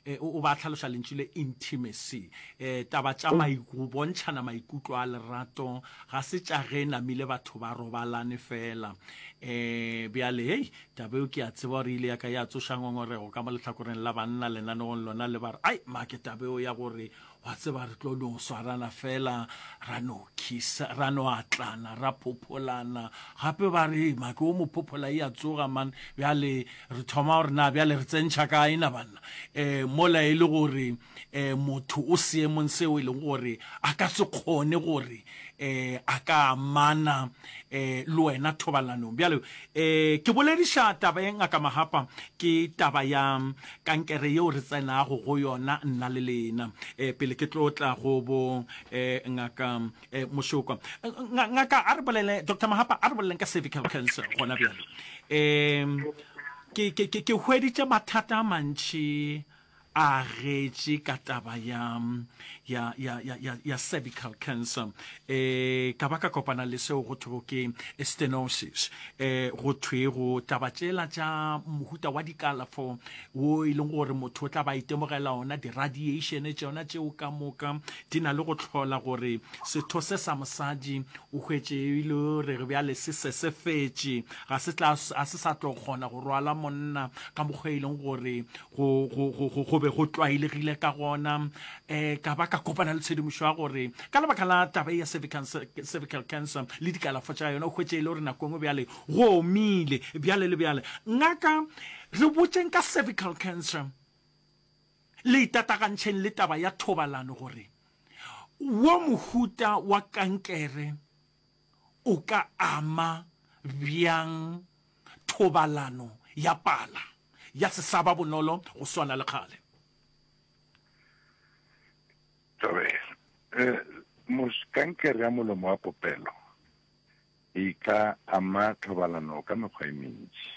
e, o, o ba hlaloša lentšu le intimacy, e, taba tša mai, go bontšhana maikutlo a lerato, ga se tša ge namile batho ba robalane feela. E, bjale, hei, taba eo ke a tseba gore e ile ya ka ya tsoša ngongorego ka mo lehlakoreng la banna lenaneong lona le ba re, Ai, make taba eo ya gore Wa tseba, re tlo no swarana fela, ra no khisa, ra no atlana, ra phopholana. Gape ba re, make o mo phophola e a tsoga, man. Bjale re thoma gore na bjale re tsentšha kae na banna? Um mola e le gore um motho o seemong seo e leng gore a ka se kgone gore um a ka amana um le wena thobalanong. Bjale um ke bolediša taba e Ngaka Mahapa, ke taba ya kankere yeo re tsenago go yona nna le lena. E, pele ke tlo tla go bo e, ngaka e, Mošokwa. Ngaka a re bolele, Doctor Mahapa a re boleleng ka cervical cancer gona bjale. E, ke, ke, ke, ke hweditše mathata a mantši a getše ka taba ya, ya, ya, ya, ya, ya cervical cancer. E, ka ba ka kopana le seo go thwego ke stenosis. E, go thwego taba tšela tša mohuta wa dikalafo wo e leng gore motho o tla ba itemogela ona, di-radiation tšona tšeo ka moka di na le go hlola gore setho se sa mosadi o hwetše e le gore bjale se sesefetše, ga se tla, ga se sa tlo kgona go rwala monna ka mokgwa e leng gore go, go, go, go, go be go tlwaelegile ka gona. Um ka ba ka kopana le tshedimošo ya gore ka lebaka la taba ya cervical, cervical cancer le dikalafo tša yona, o hwetše e le gore nako e nngwe bjale go omile bjale le bjale. Ngaka, re botšeng ka cervical cancer le itatagantšheng le taba ya thobalano gore wo mohuta wa kankere o ka ama bjang thobalano ya pala ya se sa ba bonolo go swana le kgale. Thobela. Eh, mos, kankere ya molomo wa popelo e ka ama thobalano ka mekgwa e mentši.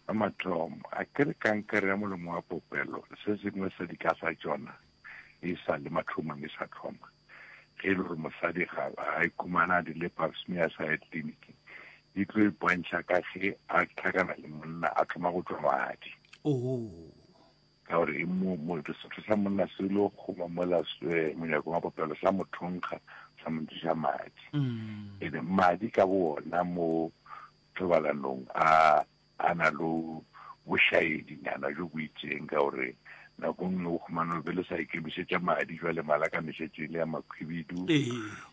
Sa mathomo, a ke re kankere ya molomo wa popelo se sengwe sa dika sa tšona e sa le mathomong e sa thoma. Ge e le gore mosadi ga a ikhumana a dirile pap smear a sa ye tleliniking, e tlo ipontšha ka ge a hlakana le monna a thoma go tšwa madi. Oh. Ka gore e mo, mo, setho sa monna se lo kgoma mola eh, monyakong wa popelo sa mo thonkga sa mo ntšiša madi. Mm. Ene madi ka bo ona mo thobalanong a. A na le bošaedinyana bjo bo itšeng ka gore nako nngwe o humana be le sa ikemišetša madi jwale malakane šetše e le ya makhwibidu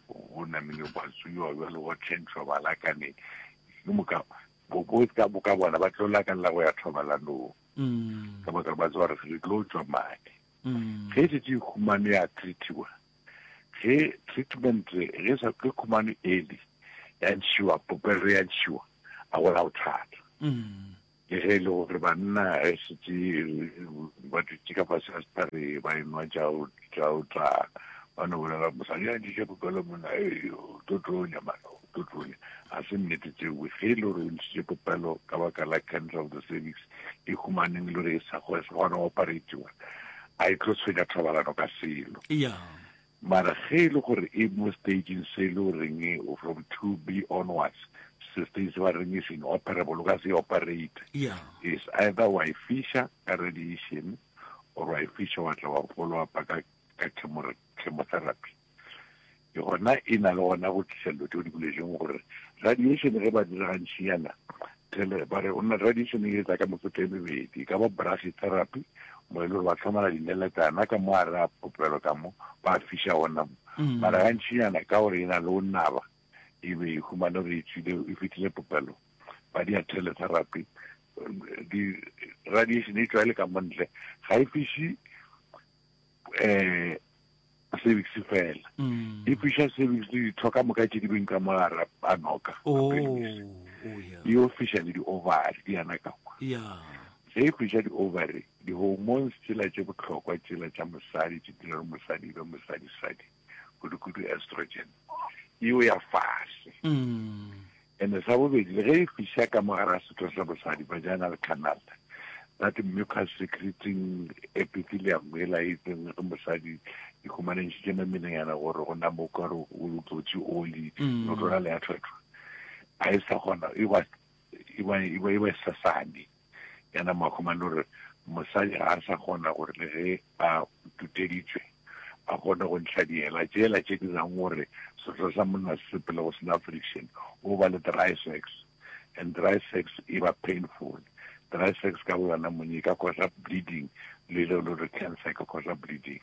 go namile gwa tsuiwa jwale go tšhentšhwa malakane ke moka bo ka boka bona ba tlo lakalela go ya thobalanong mm. ka baka ba tseba gore re tlo tšwa madi mm. ge e šetše e humane ya treatiwa ge treatment ge sa ke khumane early ya ntšhiwa popelo ya ntšhiwa a go la bothata mm. ke ge e le gore banna e setse ba dutse ka fase ga setlhare ba enwa tša o tla ba no bolela mosadi a ntšhitše popelo monna e o tlo tlonya mane o tlo tlonya ga se nnete tseo ge e le gore o ntšhitše popelo ka baka la cancer of the cervix e humaneng e le gore e sa kgona go operatiwa a e tlo tshwenya thobalano ka selo yeah. mara ge e le gore e mo stageng se e le goreng from 2 b onwards se stage se ba reng is inoperable o ka se operate yeah. is either wa e fiša ka radiation or wa e fiša wa tla wa follow up ka ka chemotherapy Ke gona e na le gona go tliša dilo tšeo di boletšeng gore radiation ge ba dira gantšinyana tele ba re ona radiation e etsa ka mefuta e mebedi e ka ba brachytherapy mo e le gore ba tlhomela dineletana ka mo gare a popelo ka mo ba fiša gona mo mm. mara gantšinyana ka gore e na le go naba e be e humane gore e tswile e fetile popelo ba dia teletherapy di radiation e tšwa e le ka mo ntle ga e fiše um cervix fela mm. e fiša cervix le ditho ka moka tše di beng ka mogare a noka oh, oh, e yo fiša le di-ovary di yana ka kwa ge e fiša di-ovary di-hormones tsela tše bohlokwa tsela tša mosadi tše dira gore mosadi e be mosadi-sadi kudu-kudu estrogen eo ya fase mm. And sa bobedi, le ge e fiša ka mo gare ga setho sa bosadi, vaginal canal, that mucus secreting epithelium yela e itseng ge mosadi e humane ntšhitše memelengana gore go nama o kare o tlotše oli, mm. o tlola le ya thwethwa, ga e sa kgona, e ba e ba e ba e ba sasane. Ya nama humane gore mosadi ga a sa kgona gore le ge a tuteditšwe a kgone go ntšha diela tšela tše dirang gore setho sa monna se sepele go sena friction, o ba le dry sex, and dry sex e ba painful. Dry sex ka bo yona mone e ka causa bleeding, le le gore cancer e ka causa bleeding.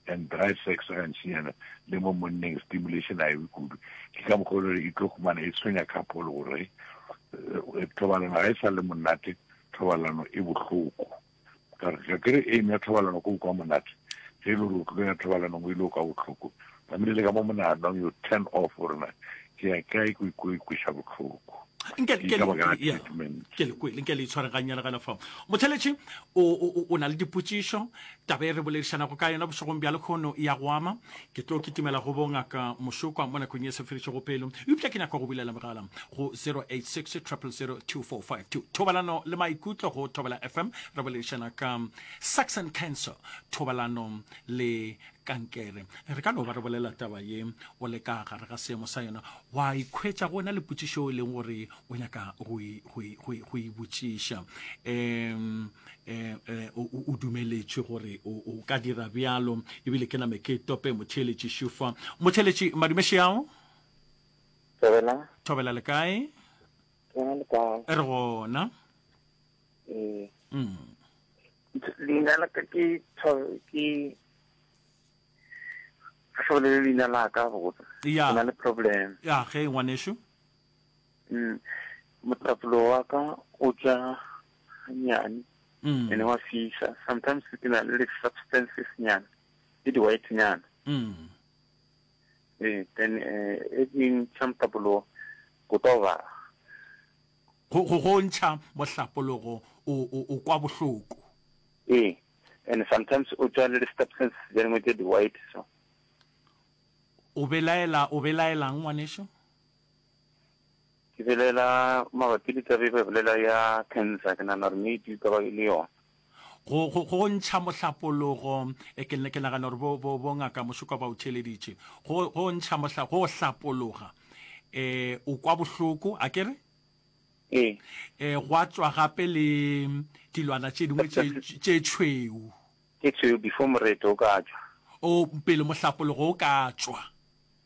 And dry sex gantšinyana le mo monneng stimulation a e be kudu. Ke ka mokgwa o le gore e tlo humana e tshwenya couple gore eh, thobalano ga e sa le monate, thobalano e bohloko. Ka re, ga ke re aim ya thobalano ke go kwa monate, ge e le gore o tlo ya thobalanong o ile o kwa bohloko, tlamehile le ka mo monaganong you turn off gore na ke ya kae ko ko ikweša bohloko. Nke Ke ke ka baka la ya treatment. ke le kwele nke le itshware gannyane gana fa. Motheletši o o o na le dipotšišo taba e re boledišanago ka yona bošegong bja lekhono ya go ama ke tlo kitimela go bo ngaka Mošokwa mo nakong ye se fedišego pelo eupša ke nyaka go bulela mogala go 086 000 2452 thobalano le maikutlo go Thobela FM re boledišana ka sex and cancer thobalano le kankere re ka no ba re bolela taba ye o le ka gare ga seemo sa yona wa ikhwetša go na le potšišo e leng gore o nyaka go e, go e, go e, go e botšiša um eh, eh, o dumeletšwe gore o ka dira bjalo ebile ke name ke tope motheeletši šufa motheeletši madumeši ao Thobela. Thobela le kae? Rena le kae? Re gona. Ee. Mm. Leina la ka ke ke ga se bolele leina la ka botsa. Ya. Ke na le problem. Ya, ge ngwanešu. Mm. Motlapolo wa ka o tša nyane. Mm. Ene wa fisa. Sometimes ke na le substances nyana. Le di white nyana. Mm. Ee, then eh, e di ntšha mohlapologo go tlo ba. Go go go ntšha mohlapologo o o o kwa bohloko. Ee, and sometimes o tšwa le di-substance tse dingwe tse di-white so. O belaela o belaelang ngwanešu? Ke belaela mabapi le taba e ba bolela ya cancer, ke nagana gore maybe e ka ba e le yona. Go, go, go ntšha mohlapologo, e, ke, ke nagana gore bo, bo, bo ngaka Mošoka ba o theeleditše. Go, go ntšha mohla, go hlapologa, e, o kwa bohloko, a ke re? Ee. E, gwa tšwa gape le dilwana tše dingwe tše, tše tšhweu. Tše tšhweu before moreto o ka tšwa. O, pele mohlapologo o ka tšwa.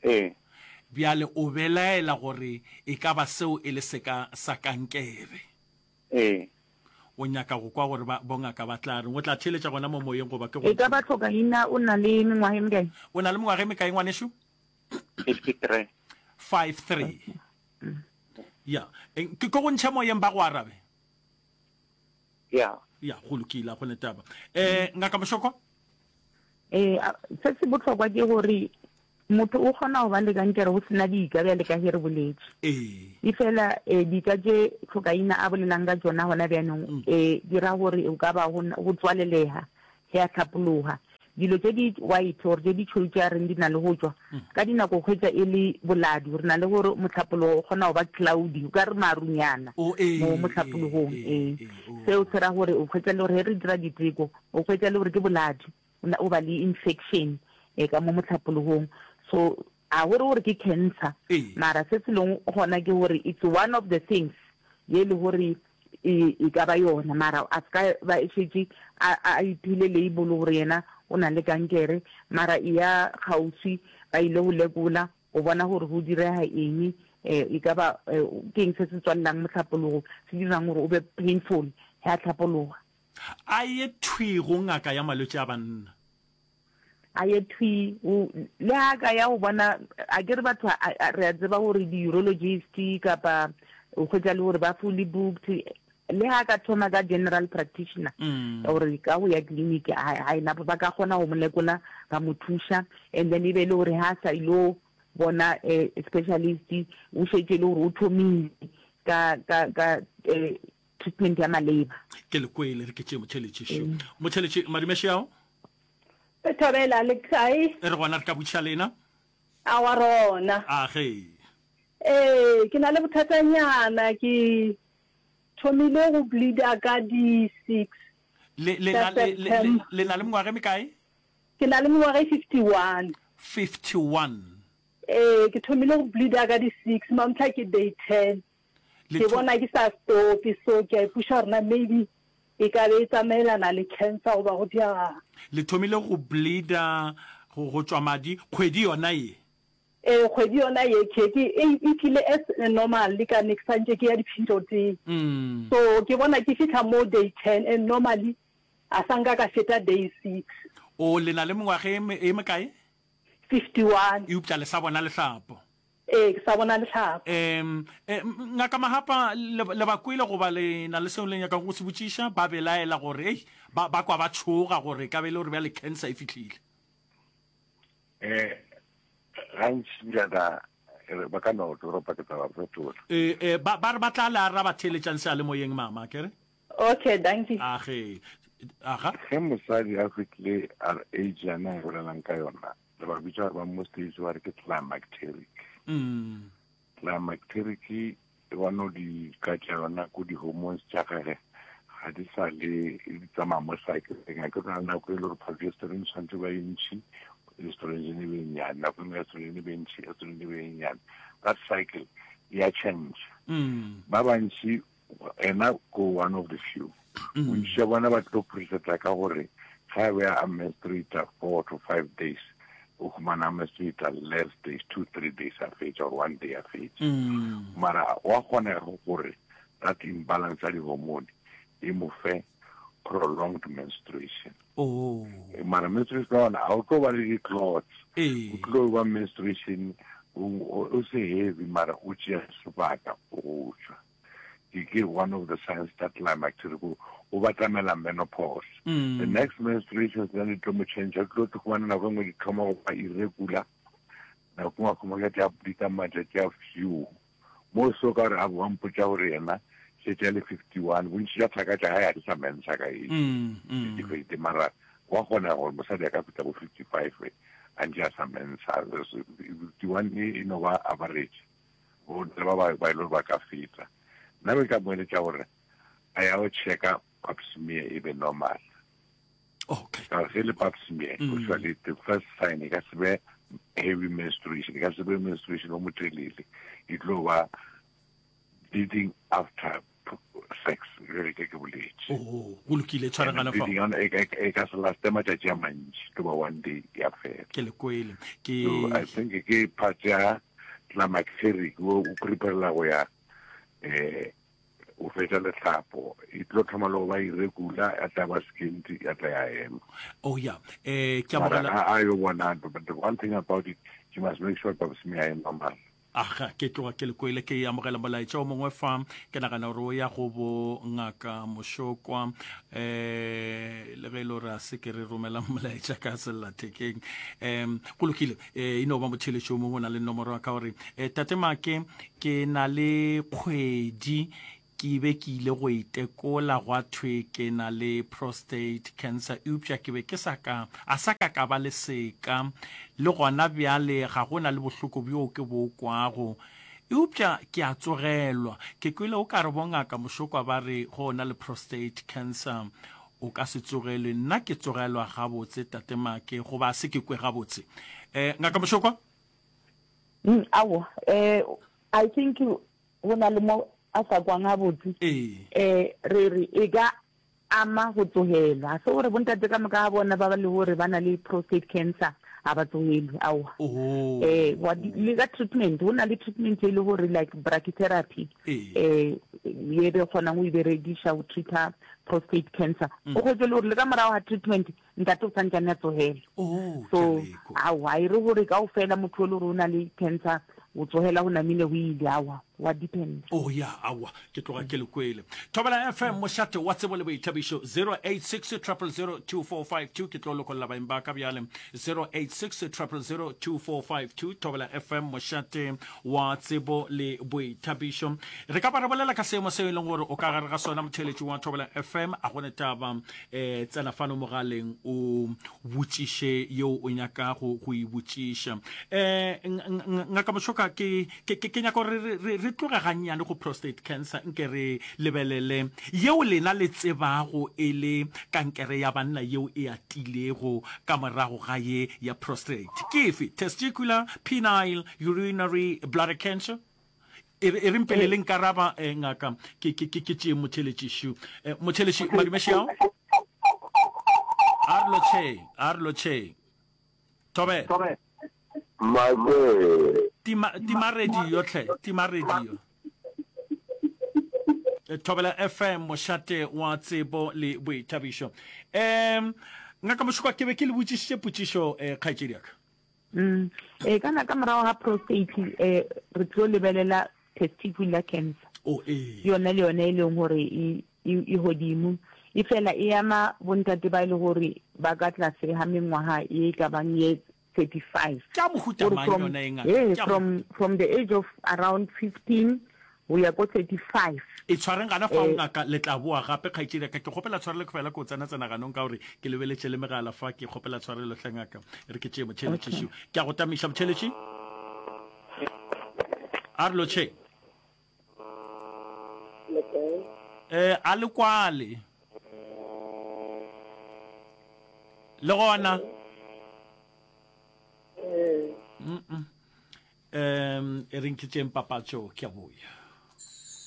Ee. Bjale o belaela gore e ka ba seo e le seka sa kankere. Ee. O nyaka go kwa gore ba, bongaka ba tla reng. O tla theeletša gona mo moyeng goba ke go E ka ba tlhokaina o na le mengwaga e mekae? O na le mengwaga e mekae, ngwanešu? 53. 53. Ya. Ke, ke go ntšhe moyeng ba go arabe? Ya. Ya, go lokile, a go ne taba. Eh, Ngaka Mošoko? Eh, se se bohlokwa ke gore motho o kgona go ba le kankere go sena dika bjale ka ge re boletše. Ee. Efela eh, dika tše tlhokaina a bolelang ka tšona gona bjanong mm. eh, di ra gore o ka ba go tswalelega ge a hlapologa. Dilo tše di white or tše di tšhweu tše a reng di na le go tšwa, mm. ka dinako hwetša e le boladu. Re na le gore mohlapologo o kgona go ba cloudy, o ka re marunyana oh, ee, mo mohlapologong. Ee, ee. Seo se ra gore o hwetša le gore ge re dira diteko o hwetša le gore ke boladu. O ba le infection e ka mo mohlapologong. So a go re gore ke cancer, mara se se leng gona ke gore it's one of the things ye le gore e, e ka ba yona, mara a se ka ba e šetše a, a iphile label gore yena o na le kankere, mara e ya kgauswi ba ile go lekola go bona gore go direga eng, e ka ba ke eng se se tswalelang mohlapologo se dirang gore o be painful ge a hlapologa. A ye thwi go ngaka ya malwetši a banna. A ye thwi go, le ha a ka ya go bona, a ke re batho re a tseba gore di-urologist kapa o hwetša le gore ba fully booked, le ha a ka thoma ka general practitioner gore ka go ya clinic ga e na, ba ka kgona go mo lekola ba mo thuša and then e be e le gore ha a sa ilo bona specialist o šetše e le gore o thomile ka ka ka treatment ya maleba. Ke le kwele, re ke tšee motheeletši šo. Motheeletši, madume šeao. Re thobela, le kae? Re gona, re ka botšiša lena? Awa rona. A ge. Ee, ke na le bothatanyana, ke thomile go bleeder ka di 6 Le, le, tša na, le, le, September. le na le mengwaga e mekae? Ke na le mengwaga e 51. 51. Ee, ke thomile go bleeder ka di 6, mamhla ke day 10. Le Ke tho- bona ke sa stope, so ke a ipuša gore na maybe e ka be e tsamaelana le cancer goba go diagang. Le thomile go bleeder, go, go tšwa madi, kgwedi yona ye? Ee, kgwedi yona ye ke, ke, e, e tlile as normal le ka ne ke santše ke ya di-period-eng. So ke bona ke fihla mo day ten and normally a sa nka ka feta day six. O, le na le mengwaga e, e mekae? 51. Eupša le sa bona lehlapo? Ee, ke sa bona lehlapo. Um, Ngaka Mahapa, le, le ba kwele goba le na le seo le nyakago go se botšiša? Ba belaela gore, ei, ba, ba kwa ba tšhoga gore e ka be e le gore bjale cancer e fihlile. Eh, gantši bjana ba ka no toropa ke tla ba fetola. Eh, eh, ba, ba re ba tla le araba theeletšang seyalemoyeng, mama, ke re? Okay, dankie. Age, aga. Ge mosadi a fihlile age yana e bolelang ka yona, re ba bitša gore ba mo stage ba re ke climacteric. Climacteric e ba no di ka tša yona ko di-hormones tša gage ga di sa le di tsamaya mo cycleng. A ke na le nako e le gore progesterone tshwanetse ba e ntšhi, estrogen e be e nnyane, nako e nngwe estrogen e be ntšhi, estrogen e be e nnyane. That cycle ya change. Ba bantši Ena ko one of the few. Bontši bja bona ba tlo preseta ka gore ga be a menstruata 4 to 5 days, o humana a menstruata less days, 2 3 days a fetša or 1 day a fetša. Mara wa kgonega gore that imbalance ya di-hormone e mo fe prolonged menstruation. Oh. Mara menstruation ya gona ga o tlo ba le di-clots. O tlo ba menstruation o se heavy mara o tšea sebaka go tšwa. Ke ke one of the signs tša climacteric o o batamela menopause. Mm. The next menstruation tsena di tlo mo change, o tlo tlo khumana nako e nngwe di thoma go ba irregular. Nako nngwe a khumana tša bleeda matšatši a few. Mo so ka gore a bo mpotša gore yena šetše a le 51, bontši bja thaka tša gae ga di sa mensa ka age. Mm, mm. Dikgwedi mara wa kgonega gore mosadi a ka fihla bo 55 a ntše a sa mensa. 51 e no ba average. Bo le ba ba ba ile ba ka feta. Nna be ka mo eletša gore a ya go checka pap smear e be normal. Okay. Ka ge le pap smear, mm. usually the first sign e ka se be heavy menstruation, e ka se be menstruation o motelele. E tlo ba bleeding after sex re ke ke boletše. Oh, go lokile tshwaragana fa. Bleeding e, e, e ka se laste matšatši a mantši, tlo ba one day ya fela. Ke le kwele. Ke So I think ke part ya climacteric o o preparela go ya eh. o fetša lehlapo e tlo thoma le go ba irregular ya tla ba skinty ya tla ya ema. Oh ya eh ke Mara amogela ga a yo bona but the one thing about it you must make sure pap smear e normal. Aga, ke tloga ke le kwele ke amogela molaetša o mongwe fa. Ke nagana gore o ya go bo Ngaka Mošokwa. Eh, le ge e le gore a se ke re romela molaetša ka sellathekeng. Um, go lokile. Eh, e no ba motheeletši o mongwe o na le nomoro ya ka gore, eh, Tate Make, ke na le kgwedi Ke be ke ile go itekola gwa thwe ke na le prostate cancer eupša ke be ke sa ka a sa ka ka ba le seka le gona bjale ga go na le bohloko bjoo ke bo kwago eupša ke a tsogelwa. Ke kwele o ka re bongaka Mošokwa ba re go na le prostate cancer o ka se tsogelwe. Nna ke tsogelwa gabotse Tate Make goba a se ke kwe gabotse. Eh, Ngaka Mošokwa? Mm, aowa, eh, I think Go na le mo a sa kwang gabotse. Ee. Eh, re re e ka ama go tsogelwa. Ga se gore bontate ka moka ga bona ba ba le gore ba na le prostate cancer ga ba tsogelwe, aowa. Oh. Eh, wa di, le ka treatment, go na le treatment e le gore like brachytherapy, Ee. eh, ye re kgonang go e berekiša go treat-a prostate cancer. O hwetše le gore le ka morago ga treatment Ntate o santšane a tsogela. Oh, So, ke a le kwa. aowa, a e re gore kaofela motho o le gore o na le cancer, o tsogela go namile go ile, aowa, wa depend. Oh ya, aowa, ke tloga ke le kwele. Thobela FM, mošate wa tsebo le boithabišo, 086 000 2452, ke tlo lokolla baeng ba ka bjale, 086 000 2452, Thobela FM, mošate wa tsebo le boithabišo. Re ka ba re bolela ka seemo seo e leng gore o ka gare ga sona, motheeletši wa Thobela FM, a go ne taba. eh tsena fano mogaleng o botšiše yeo o nyakago go e botšiša. Eh Ngaka Moshoka, ke ke ke nyaka gore re re tloge gannyane go prostate cancer nke re lebelele yeo lena le tsebago e le kankere ya banna yeo e atilego ka morago ga ye ya prostate. Ke efe? Testicular, penile, urinary bladder cancer? E re, e reng pele le nkaraba, eh, ngaka, ke, ke, ke, ke tšee motheeletši. Eh, motheeletši, madume šiao. A re lotšheng, a re lotšheng. Thobela. Make. Tima, tima radio hle, tima radio. Eh, Thobela FM, mošate wa tsebo le boithabišo. Um, ngaka Mošokwa, ke be ke le botšišitše potšišo, eh, kgaetšedi ya ka. Mm. E kana ka morago ga prostate eh re tlo lebelela testicular cancer. Oh ee. Yona le yona e leng gore e e godimo. E fela e ama bontate ba e le gore ba ka tlase ga mengwaga e ka bang ye 35. Ke a mohuta mang yona e ngaka? Ee, from from the age of around 15 go ya ko 35. E tshwareng gana fao ngaka, le tla boa gape kgaetšedi ya ka. Ke kgopela tshwarelo ke fela ke o tsena-tsena ganong ka gore ke lebeletše le megala fa. Ke kgopela tshwarelo hle ngaka. E re ke tšee motheeletši šo. Ke a go tamiša motheeletši. A re lotšheng. Eh, a le kwale. Le gona. Mm -mm. Um e reng ke tšeeng papatšo ke a boya.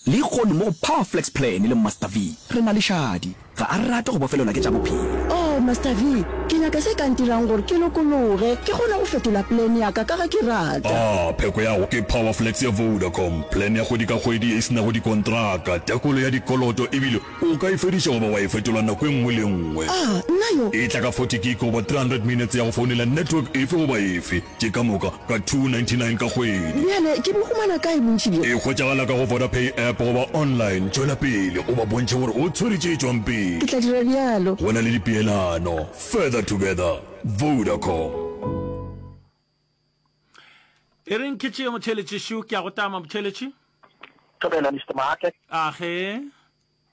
Lehono mo go Powerflex Plan le Master V re na le Shadi. Ga a rate go bofelelwa ke tša bophelo. Oh, Master V, ke nyaka se ka ntirang gore ke lokologe, ke kgone go fetola plan ya ka ka ge ke rata. Ah, pheko ya go ke Powerflex ya Vodacom, plan ya kgwedi ka kgwedi ye e se nago dikontraka, tekolo ya dikoloto ebile o ka e fediša goba wa e fetola nako e nngwe le e nngwe. Ah, nna yo! E tla ka 40 gig goba 300 minutes ya go founela network efe goba efe. Tše ka moka ka 299 ka kgwedi. Bjale ke bo humana kae bontši bjo? E hwetšagala ka go Vodapay app goba online. Tšwela pele o ba bontšhe gore o tshwere tše tšwang pele. Ke tla dira bjalo. Go na le dipeelano. Further together. Vodacom. E reng ke tšee motheeletši šo, ke a go tama motheeletši. Thobela Mister Maake. Age.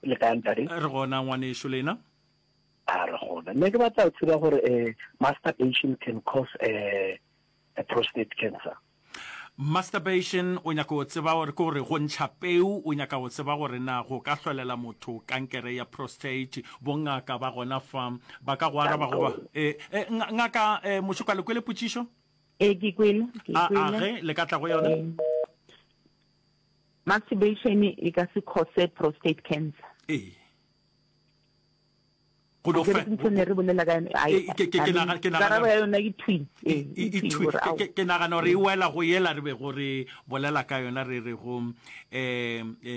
Le kae ntate? Re gona ngwanešu lena. A re gona. Nne ke batla go tseba gore eh, masturbation can cause eh, a prostate cancer. Masturbation o nyaka go tseba gore ke gore go ntšha peu o nyaka go tseba gore na go ka hlolela motho kankere ya prostate. Bongaka ba gona fa ba ka go araba goba eh, eh, ngaka eh, Mošoka le kwele potšišo? Ee, ke kwele, ke A kwele. a ge le ka tla go yona? Eh, masturbation e ka se cause prostate cancer. Ee. Go no Akere fe ke ntho ne re bolela ka yone ai E, ke, ke, I ke mean nagana, ke karabo nagana ya yona ke thwi e, ee e, e e thwi thwi gore ke, ao ke, ke nagana gore e wela go yela re bego re bolela ka yona re re go um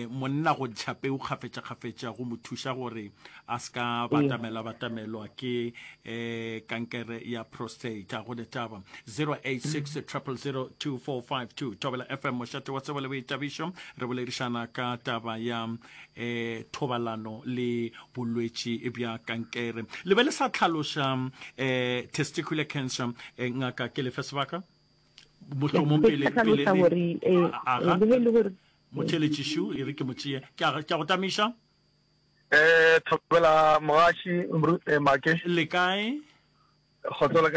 monna go ntšha peu kgafetša-kgafetša go mo thuša gore a se ka ee batamela batamelwa ke um kankere ya prostate. A go ne taba 086 000 2452 Thobela FM mošate wa tsebo le boithabišo re boledišana ka taba ya eh thobalano le bolwetši bja kankere. Le be le sa tlhaloša eh testicular cancer eh, ngaka ke lefe sebaka? Mohlomong Be pele ke pele hlalosa le gore eh, aga le ge e le gore motheletšišu e re ke mo tšee. Ke a ke a go tamiša. Eh, thobela mogaši eh, Make. Le kae? Kgotso le kae?